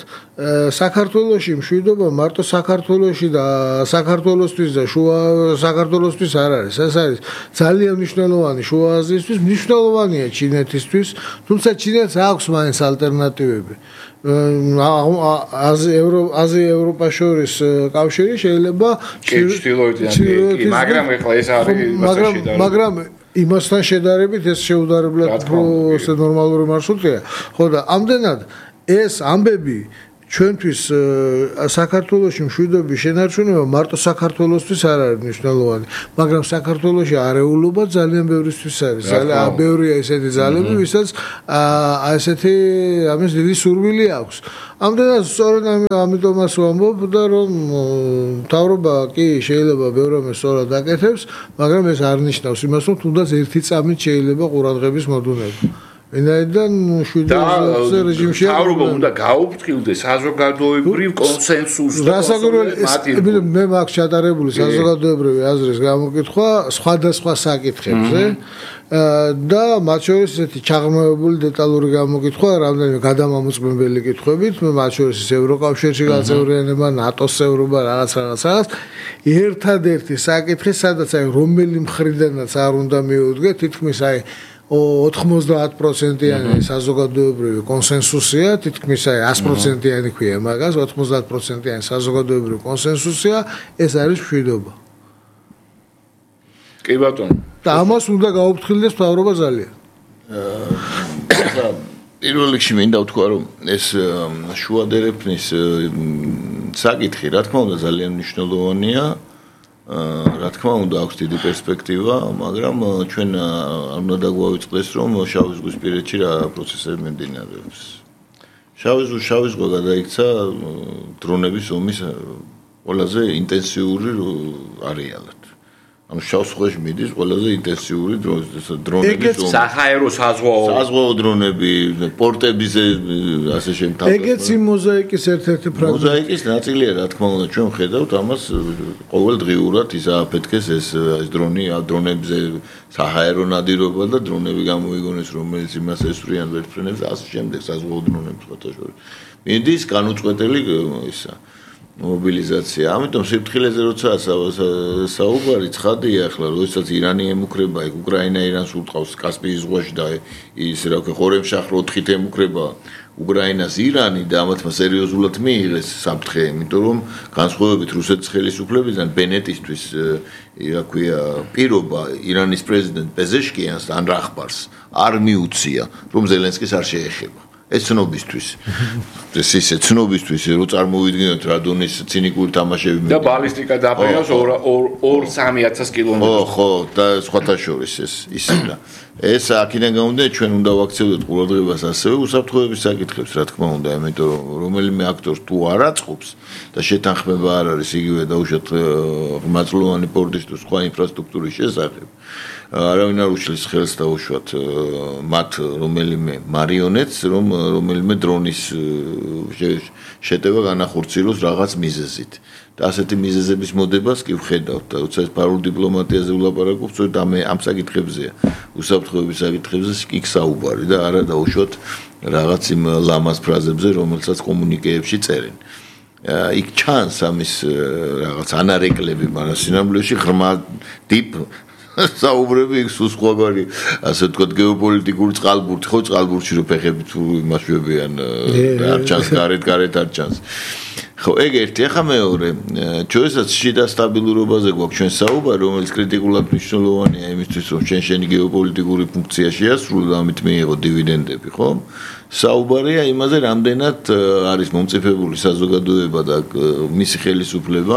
საქართველოში მშვიდობა მარტო საქართველოში და საქართველოსთვის და შუა საქართველოსთვის არ არის. ეს არის ძალიან მნიშვნელოვანი შუა აზიისთვის, მნიშვნელოვანია ჩინეთისთვის, თუმცა ჩინეთს აქვს მაინც ალტერნატივები. აზია-ევროპა შორის კავშირი შეიძლება ჩრდილოეთიდან, მაგრამ ეხლა ეს არის მასში და მაგრამ იმასთან შედარებით ეს შეუდარებლად უფრო ნორმალური მარშრუტია. ხო და ამდენად ეს ამბები ჩვენთვის საქართველოში მშვიდობის შენარჩუნება მარტო საქართველოსთვის არ არის მნიშვნელოვანი, მაგრამ საქართველოში არეულობა ძალიან ბევრისთვის არის. ძალიან ბევრია ესეთი ძალები, ვისაც ესეთი ამის დიდი სურვილი აქვს. ამდენად სწორედ ამიტომაც ვამბობ და რომ მთავრობა კი შეიძლება ბევრ რამეს სწორად აკეთებს, მაგრამ ეს არ ნიშნავს იმას, რომ თუნდაც ერთი წამით შეიძლება ყურადღების მოდუნება. ენაიდან შვიდობის რეჟიმში მთავრობა უნდა გაუფრთხილდეს საზოგადოებრივ კონსენსუსს და კონსოლიდაციას. მე მაქვს ჩატარებული საზოგადოებრივი აზრის გამოკითხვა სხვადასხვა საკითხებზე და მათ შორის ესეთი ჩაღრმავებული დეტალური გამოკითხვა რამდენიმე გადამამოწმებელი კითხვებით, მათ შორის ევროკავშირში გაწევრიანება, ნატოს წევრობა, რაღაც რაღაც რაღაც. ერთადერთი საკითხი, სადაც აი რომელი მხრიდანაც არ უნდა მიუდგე, თითქმის აი ოთხმოცდაათ პროცენტიანი საზოგადოებრივი კონსენსუსია, თითქმის აი ათი პროცენტიანი ქვია მაგას, ოთხმოცდაათ პროცენტიანი საზოგადოებრივი კონსენსუსია, ეს არის მშვიდობა. კი ბატონო. და ამას უნდა გაუფრთხილდეს მთავრობა ძალიან. პირველ რიგში მინდა ვთქვა, რომ ეს შუადერეფნის საკითხი, რა თქმა უნდა, ძალიან მნიშვნელოვანია. რა თქმა უნდა, აქვს დიდი პერსპექტივა, მაგრამ ჩვენ არ უნდა დაგვავიწყდეს, რომ შავი ზღვის პირეთში რა პროცესები მიმდინარეობს. შავი ზღვის შავი ზღვა გადაიქცა დრონების ომის ყველაზე ინტენსიური არეალად. ანუ შავ ზღვაში მიდის ყველაზე ინტენსიური დრონების ომი. საჰაერო საზღვაო საზღვაო დრონები, პორტების ასე შემთავრება. ეგეც იმ მოზაიკის ერთ-ერთი ფრაგმენტი. მოზაიკის ნაწილია, რა თქმა უნდა, ჩვენ ხედავთ ამას ყოველდღიურად ის აფეთქეს ეს ეს დრონი, დრონებზე საჰაერო ნადირობა და დრონები გამოიგონეს, რომელიც იმას ესვრიან ვერტფრენებს და ასე შემდეგ საზღვაო დრონებს ხოთაშორის. მიდის განუწყვეტელი ისა მობილიზაცია. ამიტომ სიფრთხილეზე როცა საუბარი ცხადია ახლა, როდესაც ირანი ემუქრება, ეგ უკრაინა ირანს უტყავს კასპიის ზღვაში და ის რა ქვია, ხორემშაჰ ოთხით ემუქრება უკრაინას ირანი და ამათმა სერიოზულად მიიღეს საფრთხე, იმიტომ რომ განსხვავებით რუსეთის ხელისუფლებიდან ბენეტისთვის რა ქვია, პირობა ირანის პრეზიდენტ პეზეშკიანს ან რახბარს არ მიუცია, რომ ზელენსკის არ შეეხება. ეს ცნობისთვის. ეს ისე ცნობისთვის, რომ წარმოვიდგინოთ რა დონის ცინიკური თამაშები და ბალისტიკა დაფრინავს ორ სამი ათას კილომეტრს. ხო, ხო, და სხვათა შორის ეს ისინა. ეს აქედან გამომდინარე ჩვენ უნდა ვაქცევდეთ ყურადღებას ასევე უსაფრთხოების საკითხებს, რა თქმა უნდა, იმიტომ რომ რომელიმე აქტორს თუ არ აწყობს და შეთანხმება არ არის იგივე დაუშვათ ღრმაწლოვანი პორტის თუ სხვა ინფრასტრუქტურის შესახებ. არავინ არ უშლის ხელს დაუშვათ მათ რომელიმე მარიონეტს, რომ რომელიმე დრონის შეტევა განახორციელოს რაღაც მიზეზით. და ასეთი მიზეზების მოდებას კი ვხედავთ და როცა ეს ფარულ დიპლომატიაზე ვლაპარაკობ, სწორედ ამ ამ საკითხებზეა, უსაფრთხოების საკითხებზე კი საუბარი და არა დაუშვათ რაღაც იმ ლამაზ ფრაზებზე, რომელსაც კომუნიკეებში წერენ. იქ ჩანს ამის რაღაც ანარეკლები, მაგრამ სინამდვილეში ღრმა დიპ საუბრები იქ სულ სხვაგარი, ასე ვთქვათ, გეოპოლიტიკური წყალბურთი, ხო წყალბურთში რო ფეხები თუ იმაშვებიან, არ ჩანს გარეთ, გარეთ არ ჩანს. ხო, ეგ ერთი, ახლა მეორე, ჩვენსაც შიდა სტაბილურობაზე გვაქვს ჩვენ საუბარი, რომელიც კრიტიკულად მნიშვნელოვანია იმისთვის, რომ ჩვენ შენი გეოპოლიტიკური ფუნქცია შეასრულო და ამით მიიღო დივიდენდები, ხო? საუბარია იმაზე, რამდენად არის მომწიფებული საზოგადოება და მისი ხელისუფლება,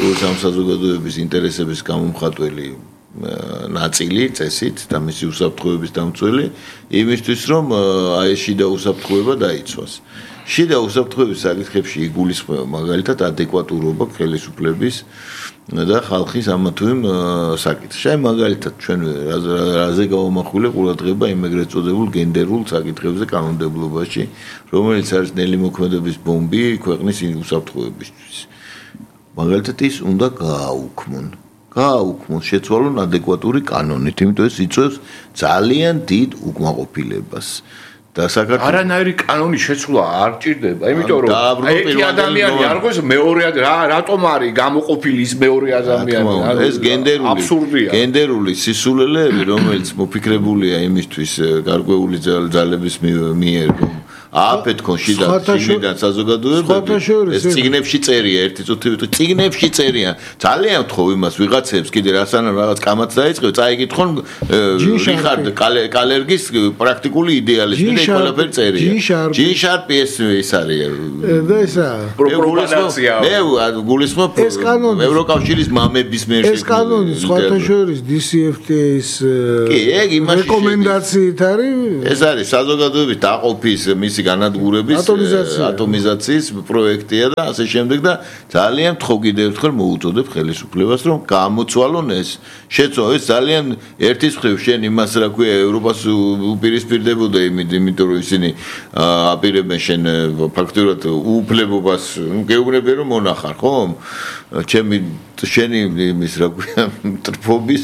როგორც ამ საზოგადოების ინტერესების გამომხატველი ნაწილი წესით და მისი უსაფრთხოების დამცველი იმისთვის რომ აი შიდა უსაფრთხოება დაიცვას. შიდა უსაფრთხოების საკითხებში იგულისხმება მაგალითად ადეკვატურობა ხელისუფლების და ხალხის ამა თუ იმ საკითხში. აი მაგალითად ჩვენ რაზე გავამახვილე ყურადღება იმ ეგრეთ წოდებულ გენდერულ საკითხებზე კანონმდებლობაში, რომელიც არის ნელი მოქმედების ბომბი ქვეყნის უსაფრთხოებისთვის. მაგალითად ის უნდა გააუქმონ. გააუქმონ, შეცვალონ ადეკვატური კანონით, იმიტომ ეს იწვევს ძალიან დიდ უკმაყოფილებას. და საქართველოს არანაირი კანონის შეცვლა არ ჭირდება, იმიტომ რომ ერთი ადამიანი არ გვეს მეორე რატომ არის გამოყოფილი ის მეორე ადამიანი? ეს გენდერული აბსურდია. გენდერული სისულელეები, რომელიც მოფიქრებულია იმისთვის გარკვეული ძალების მიერ, ააფეთქონ შიდა შიდან საზოგადოებები, ეს წიგნებში წერია, ერთი წუთი ვიტყვი, წიგნებში წერია. ძალიან ვთხოვ იმას ვიღაცებს კიდე რასანამ რაღაც კამაც დაიწყებ, წაიკითხონ რიხარდ კალერგის პრაქტიკული იდეალიზმი და ყველაფერი წერია. ჯინ შარპი ეს ის არის. და ესა პროპაგანდაცია. მე გულისხმობ ევროკავშირის მამების მიერ ეს კანონი სხვათა შორის დი სი ეფ ტი ეის რეკომენდაციით არის. ეს არის საზოგადოების დაყოფის მისი განადგურების ატომიზაციის პროექტია და ასე შემდეგ და ძალიან ვთხოვ კიდევ ერთხელ მოუწოდებ ხელისუფლებას რომ გამოცვალონ ეს შეცვალონ ეს ძალიან ერთის მხრივ შენ იმას რა ქვია ევროპას უპირისპირდებოდა იმიტომ რომ ისინი აპირებენ შენ ფაქტურად უუფლებობას გეუბნები რომ მონახარ ხომ ჩემი შენი იმის რა ქვია ტრფობის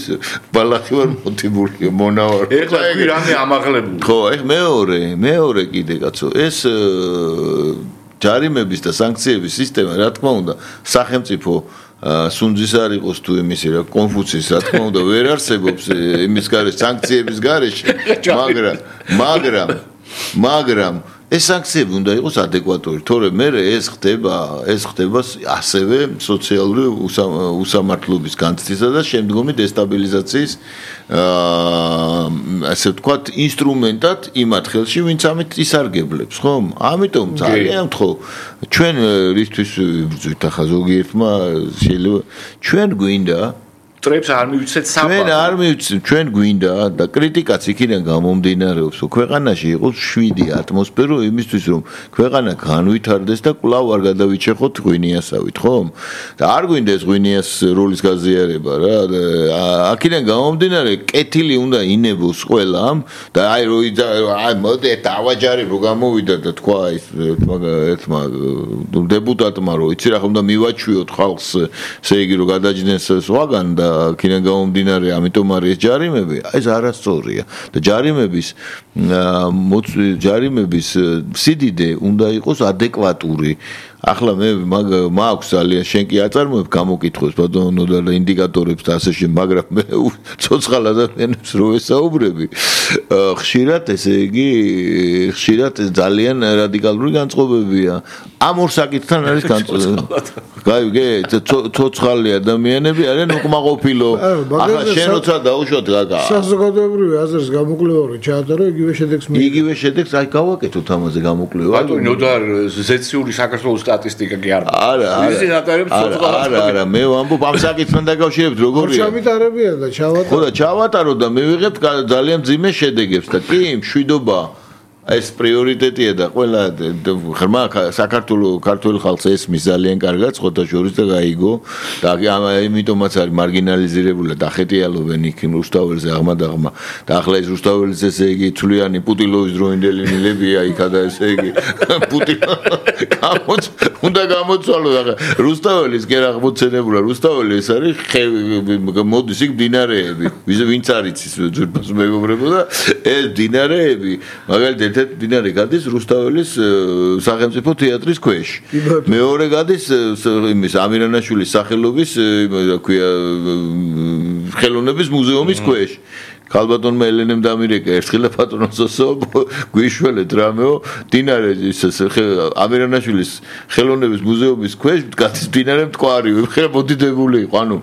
ბალახი ვარ მოტიბული მონავარ ეხლა თქვი რამე ამაღლებული ხო ეხ მეორე მეორე კიდე კაცო ეს ჯარიმების და სანქციების სისტემა რა თქმა უნდა სახელმწიფო სუნძის არ იყოს თუ იმისი რა კონფუციის რა თქმა უნდა ვერ არსებობს იმის გარეშე სანქციების გარეშე მაგრამ მაგრამ მაგრამ ეს სანქციები უნდა იყოს ადეკვატური, თორემ მე ეს ხდება, ეს ხდება ასევე სოციალური უსამართლობის განცდისა და შემდგომი დესტაბილიზაციის აა ასე ვთქვათ, ინსტრუმენტად იმ ათხელში, ვინც ამით ისარგებლებს, ხომ? ამიტომ ძალიან ვთხოვ, ჩვენ რისთვის ვიბრძვით ახლა ზოგიერთმა შეიძლება ჩვენ გვინდა ტრებს არ მივიცეთ საფა. ჩვენ არ მივიცეთ, ჩვენ გვინდა და კრიტიკაც იქიდან გამომდინარეობს, რომ ქვეყანაში იყოს შვიდი ატმოსფერო იმისთვის, რომ ქვეყანა განვითარდეს და კვლავ არ გადავიჩეხოთ ღვინიასავით, ხომ? და არ გვინდა ეს ღვინიას როლის გაზიარება რა. აქედან გამომდინარე, კეთილი უნდა ინებოს ყველამ და აი რო აი მოდი დავაჯარი რო გამოვიდა და თქვა ის ერთმა დეპუტატმა რომ იცი რა ხომ და მივაჩვიოთ ხალხს, ესე იგი რომ გადაჯდენს სხვაგან და აქედან გამომდინარე, ამიტომ არის ჯარიმები, ეს არასწორია და ჯარიმების ჯარიმების სიდიდე უნდა იყოს ადეკვატური. ახლა მე მაქვს ძალიან შენ კი აწარმოებ გამოკითხოს ბატონო და ინდიკატორებს და ასე შემდეგ, მაგრამ მე ცოცხალ ადამიანებს რო ესაუბრები, ხშირად ესე იგი ხშირად ძალიან რადიკალური განწყობებია. ამ ორ საკითხთან არის განწყობა. გაიგე, ცოცხალი ადამიანები არიან უკმაყოფილო. ახლა შენ როცა დაუშვათ გაგა. საზოგადოებრივი აზრის გამოკვლევარი ჩაატარო იგივე შედეგს მე. იგივე შედეგს აი გავაკეთოთ ამაზე გამოკვლევა. ბატონო ნოდარ ზეციური საქართველოს სტატისტიკა კი არ. არა, არა. არა, არა, მე ვამბობ ამ საკითხთან დაკავშირებით როგორია. ჩავიტარებიან და ჩავატარო. ხო და ჩავატარო და მე ვიღებ ძალიან ძიმე შედეგებს და კი მშვიდობა ეს პრიორიტეტია და ყველა ღრმა საქართველოს ქართული ხალხს ესმის ძალიან კარგად ხოთა შორის და გაიგო და ამიტომაც არის მარგინალიზირებული და ახეტიალობენ იქ რუსთაველზე აღმადაღმა და ახლა ეს რუსთაველის ესე იგი ცვლიანი პუტილოვის დროინდელი მილებია იქა და ესე იგი პუტილო გამოც უნდა გამოცვალოს ახლა რუსთაველის კი რა აღმოცენებულა რუსთაველი ეს არის მოდის იქ დინარეები ვინც არის ის ძვირფას მეგობრებო და ეს დინარეები მაგალითად ერთ დინარე გადის რუსთაველის სახელმწიფო თეატრის ქვეშ. მეორე გადის იმის ამირანაშვილის სახელობის რა ქვია ხელოვნების მუზეუმის ქვეშ. ქალბატონმა ელენემ დამირეკა ერთხელ პატრონოსო გვიშველეთ რამეო დინარე ის ამირანაშვილის ხელოვნების მუზეუმის ქვეშ გადის დინარე მტკვარი ხე მოდიდებული იყო ანუ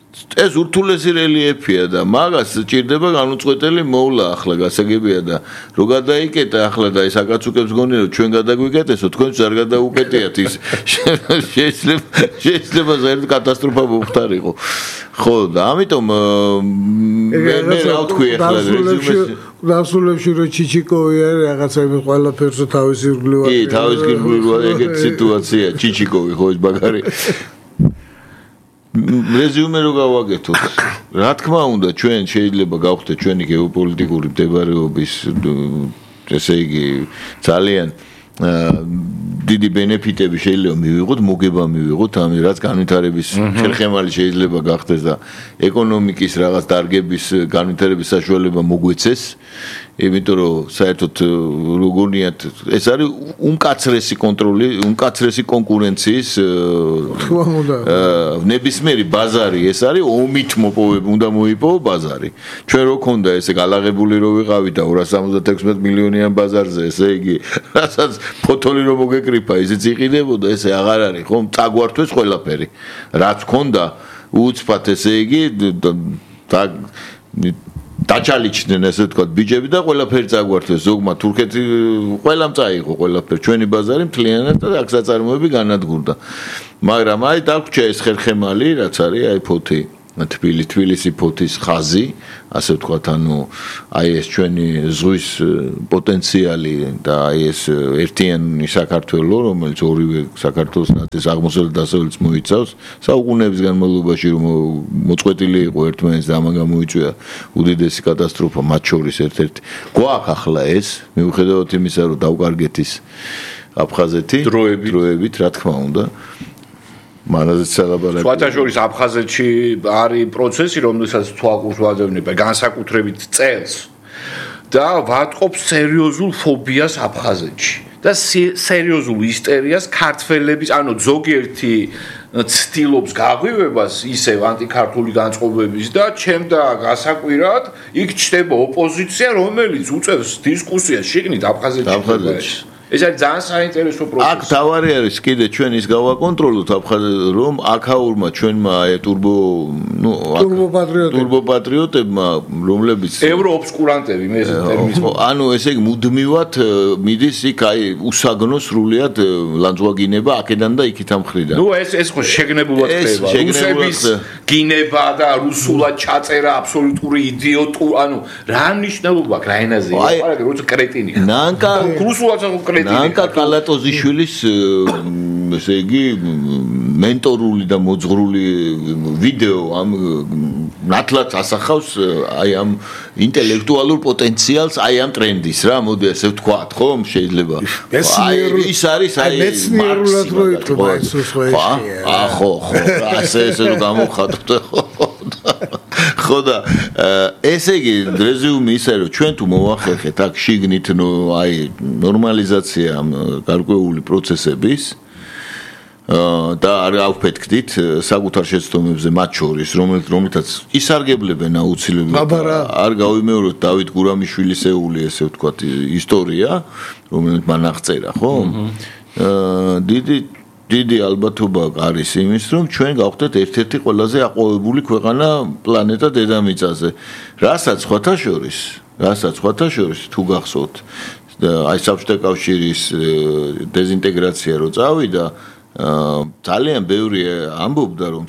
ეს ურთულესი რელიეფია და მაგას ჭირდება განუწყვეტელი მოვლა ახლა გასაგებია და რო გადაიკეტა ახლა და ეს აკაცუკებს გონი რომ ჩვენ გადაგვიკეტესო თქვენც არ გადაუკეტიათ ის შეიძლება შეიძლება ზერ კატასტროფა მოხდარიყო ხო და ამიტომ მე რა ვთქვი ახლა რეზიუმეში დასულებში რო ჩიჩიკოვი არის რაღაცა იმის ყველაფერს თავის ირგვლივ კი თავის ირგვლივ ეგეთ სიტუაცია ჩიჩიკოვი ხო ეს ბაგარი რეზიუმე რო გავაკეთოთ რა თქმა უნდა ჩვენ შეიძლება გავხდეთ ჩვენი გეოპოლიტიკური მდებარეობის ესე იგი ძალიან დიდი ბენეფიტები შეიძლება მივიღოთ მოგება მივიღოთ ამ რაც განვითარების ხელხემალი შეიძლება გახდეს და ეკონომიკის რაღაც დარგების განვითარების საშუალება მოგვეცეს იმიტომ რომ საერთოდ როგორიათ ეს არის უმკაცრესი კონტროლი უმკაცრესი კონკურენციის ნებისმიერი ბაზარი ეს არის ომით მოპოვება უნდა მოიპოვო ბაზარი ჩვენ რო ქონდა ესე გალაღებული რო ვიყავით და ორას სამოცდათექვსმეტ მილიონიან ბაზარზე ესე იგი რასაც ფოთოლი რო მოგეკრიფა ისიც იყიდებოდა ესე აღარ არის ხომ წაგვართვეს ყველაფერი რაც ქონდა უცბად ესე იგი და დაჩალიჩდნენ ესე ვთქვათ ბიჭები და ყველაფერი წაგვართვეს ზოგმა თურქეთი ყველამ წაიღო ყველაფერი ჩვენი ბაზარი მთლიანად და აქ საწარმოები განადგურდა მაგრამ აი დაგვრჩა ეს ხერხემალი რაც არის აი ფოთი თბილი თბილისი ფოთის ხაზი ასე ვთქვათ ანუ აი ეს ჩვენი ზღვის პოტენციალი და აი ეს ერთიანი საქართველო რომელიც ორივე საქართველოს ნაწილს აღმოსავლეთ დასავლეთს მოიცავს საუკუნეების განმავლობაში რომ მოწყვეტილი იყო ერთმანეთს და ამან გამოიწვია უდიდესი კატასტროფა მათ შორის ერთ-ერთი გვაქვს ახლა ეს მიუხედავად იმისა რომ დავკარგეთ ის აფხაზეთი დროებით რა თქმა უნდა მანაზეც სალაბარაკი. სხვათა შორის აფხაზეთში არის პროცესი, რომელსაც თვალყურს ვაძებნება განსაკუთრებით წელს და ვატყობს სერიოზულ ფობიას აფხაზეთში და სერიოზულ ისტერიას ქართველების, ანუ ზოგიერთი ცდილობს გაღვივებას ისევ ანტიქართული განწყობების და ჩემდა გასაკვირად იქ ჩნდება ოპოზიცია, რომელიც უწევს დისკუსიას შიგნით აფხაზეთში. ეს არის ძალიან საინტერესო პროცესი. აქ თავარი არის კიდე ჩვენ ის გავაკონტროლოთ აფხაზეთში რომ აქაურმა ჩვენმა აი ტურბო ნუ ტურბოპატრიოტებმა რომლებიც ევროობსკურანტები მე ეს ტერმინს ანუ ესე იგი მუდმივად მიდის იქ აი უსაგნო სრულიად ლანძღვაგინება აქედან და იქით ამხრიდან. ნუ ეს ეს ხო შეგნებულად ხდება. რუსების გინება და რუსულად ჩაწერა აბსოლუტური იდიოტუ ანუ რა მნიშვნელობა აქვს რა ენაზე? პარაკი როცა კრეტინი. ნანკა რუსულად ნანკა კალატოზიშვილის ესე იგი მენტორული და მოძღრული ვიდეო ამ ნათლად ასახავს აი ამ ინტელექტუალურ პოტენციალს აი ამ ტრენდის რა მოდი ასე ვთქვათ ხო შეიძლება აი ის არის აი მეცნიერულად რო იტყვა ეს ხო ხო ხო ასე ესე რომ გამოხატოთ ხო ხო და ესე იგი რეზიუმი ისე რომ ჩვენ თუ მოვახერხეთ აქ შიგნით აი ნორმალიზაცია გარკვეული პროცესების და არ ავფეთქდით საკუთარ შეცდომებზე მათ შორის რომელთაც ისარგებლებენ აუცილებლად არ გავიმეოროთ დავით გურამიშვილისეული ესე ვთქვათ ისტორია რომელიც მან აღწერა ხო დიდი დიდი ალბათობა არის იმის რომ ჩვენ გავხდეთ ერთ-ერთი ყველაზე აყვავებული ქვეყანა პლანეტა დედამიწაზე რასაც სხვათა შორის რასაც სხვათა შორის თუ გახსოვთ აი საბჭოთა კავშირის დეზინტეგრაცია რო წავიდა ძალიან ბევრი ამბობდა რომ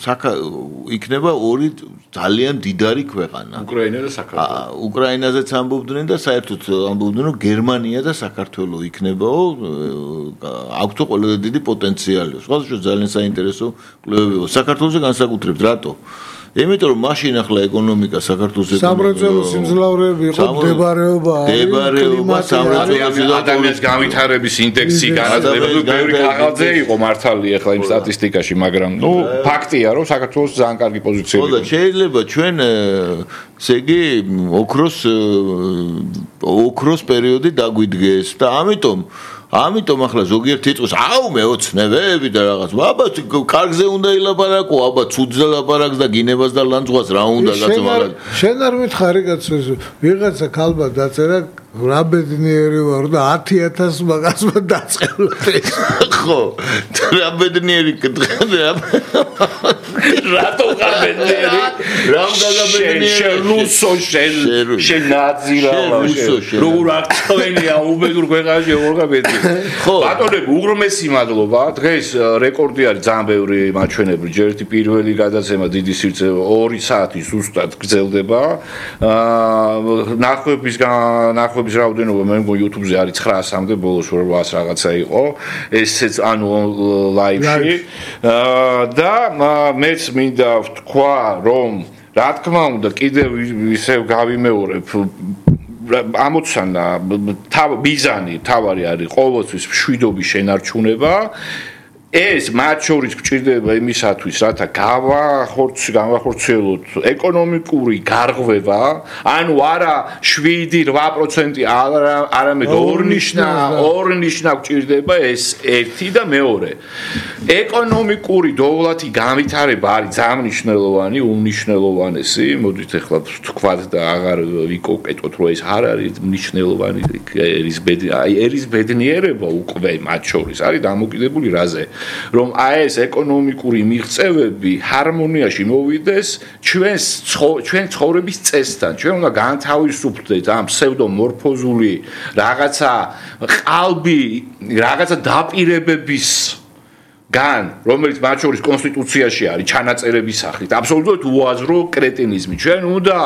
იქნება ორი ძალიან დიდარი ქვეყანა უკრაინა და საქართველო უკრაინაზეც ამბობდნენ და საერთოდ ამბობდნენ რომ გერმანია და საქართველო იქნებაო აქვთო ყველაზე დიდი პოტენციალი სხვადასხვა ძალიან საინტერესო კვლევებია საქართველოზე განსაკუთრებით რატო იმიტომ რომ მაშინ ახლა ეკონომიკა საქართველოს სამრეწველო სიმძლავრეები იყო მდებარეობა მდებარეობა სამრეწველო ადამიანის განვითარების ინდექსი განაცხადებული ბევრი კაღალდზე იყო მართალი ახლა იმ სტატისტიკაში მაგრამ ნუ ფაქტია რომ საქართველოს ძალიან კარგი პოზიციაა ხო და შეიძლება ჩვენ ესე იგი ოქროს ოქროს პერიოდი დაგვიდგეს და ამიტომ ამიტომ ახლა ზოგიერთი იტყვის აუ მეოცნებები და რაღაც აბა კარგზე უნდა ილაპარაკო აბა ცუდზე ლაპარაკს და გინებას და ლანძღვას რა უნდა კაცო მაგრამ შენ არ მითხარი კაცო ვიღაცა ქალბა დაწერა რა ბედნიერი ვარ და ათი ათასი მაგასმა დაწყებოდი. ხო, რა ბედნიერი კითხავდა. რატო ხარ ბედნიერი? რამ დაგაბედნიერი? რუსო შენ შენ ნაძირა როგორ აქცევენია უბედურ ქვეყანაში როგორ გაბედნიერი. ხო, ბატონები, უღრმესი მადლობა. დღეს რეკორდი არის ძალიან ბევრი მაჩვენებრი. ჯერ ერთი პირველი გადაცემა დიდი სივრცე ორი საათი ზუსტად გრძელდება. აა ნახვების ნახვების რაოდენობა მე მგონი YouTube-ზე არის ცხრაასამდე, ბოლოს რვაას რაღაცა იყო. ესეც ანუ ლაივში. აა და მეც მინდა ვთქვა, რომ რა თქმა უნდა კიდევ ისევ გავიმეორებ ამოცანა თავ მიზანი თავარი არის ყოველთვის მშვიდობის შენარჩუნება. ეს მათ შორის გვჭირდება იმისათვის, რათა გავახორცი, გავახორციელოთ ეკონომიკური გარღვევა, ანუ არა შვიდი რვა პროცენტი, არამედ ორნიშნა, ორნიშნა გვჭირდება ეს ერთი და მეორე. ეკონომიკური დოვლათი განვითარება არის ძალიან მნიშვნელოვანი, უმნიშვნელოვანესი. მოდით ახლა ვთქვათ და აღარ ვიკოკეტოთ, რომ ეს არ არის მნიშვნელოვანი, ერის ბედნიერება უკვე მათ შორის არის დამოკიდებული რაზე? რომ აი ეს ეკონომიკური მიღწევები ჰარმონიაში მოვიდეს ჩვენს ჩვენ ცხოვრების წესთან. ჩვენ უნდა განთავისუფლდეთ ამ ფსევდომორფოზული რაღაცა ყალბი, რაღაცა დაპირებების გან, რომელიც მათ შორის კონსტიტუციაში არის ჩანაწერების სახით, აბსოლუტურად უაზრო კრეტინიზმი. ჩვენ უნდა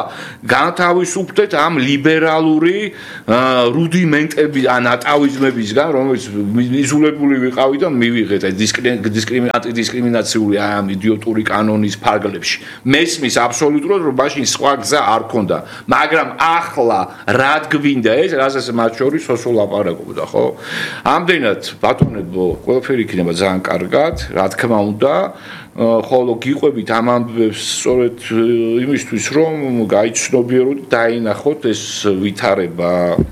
განთავისუფლდეთ ამ ლიბერალური რუდიმენტები ან ატავიზმებისგან, რომელიც მიზულებული ვიყავი და მივიღეთ ეს დისკრიმინაციული ამ იდიოტური კანონის ფარგლებში. მესმის აბსოლუტურად, რომ მაშინ სხვა გზა არ ქონდა, მაგრამ ახლა რა გვინდა ეს, რასაც მათ შორის სოსო ლაპარაკობდა, ხო? ამდენად ბატონებო, ყველაფერი იქნება ძალიან კარგი. რა თქმა უნდა, ხოლო გიყვებით ამ ამბებს სწორედ იმისთვის, რომ გაიცნობიეროთ, დაინახოთ ეს ვითარება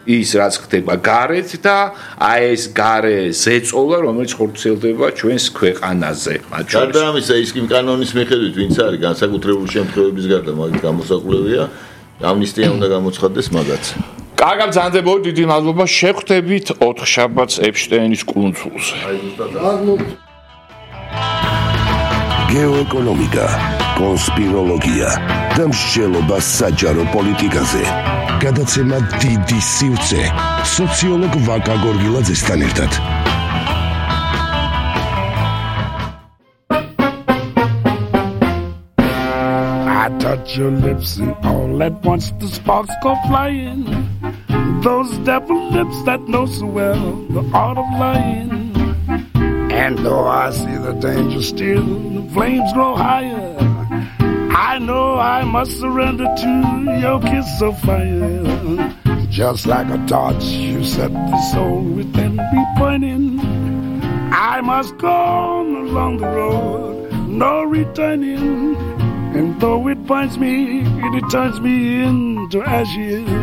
ის რაც ხდება გარეთ და აი ეს გარე ზეწოლა, რომელიც ხორციელდება ჩვენს ქვეყანაზე. გარდა ამისა, ის კი კანონის მიხედვით, ვინც არის განსაკუთრებული შემთხვევების გარდა, მაგით გამოსაკვლევია, ამნისტია უნდა გამოცხადდეს მაგაც. კარგად ბრძანდებოდი, დიდი მადლობა. შევხვდებით ოთხშაბათს ეპშტეინის კუნძულზე. გეოეკონომიკა, კონსპიროლოგია და მსჯელობა საჯარო პოლიტიკაზე. გადაცემა დიდი სივრცე სოციოლოგ ვაკა გორგილაძესთან ერთად. Touch your lips and all at once the sparks go flying. Those devil lips that know so well the art of lying. And though I see the danger still, the flames grow higher. I know I must surrender to your kiss of fire. Just like a torch, you set the soul within me burning. I must go on along the road, no returning. And though it binds me, it turns me into ashes.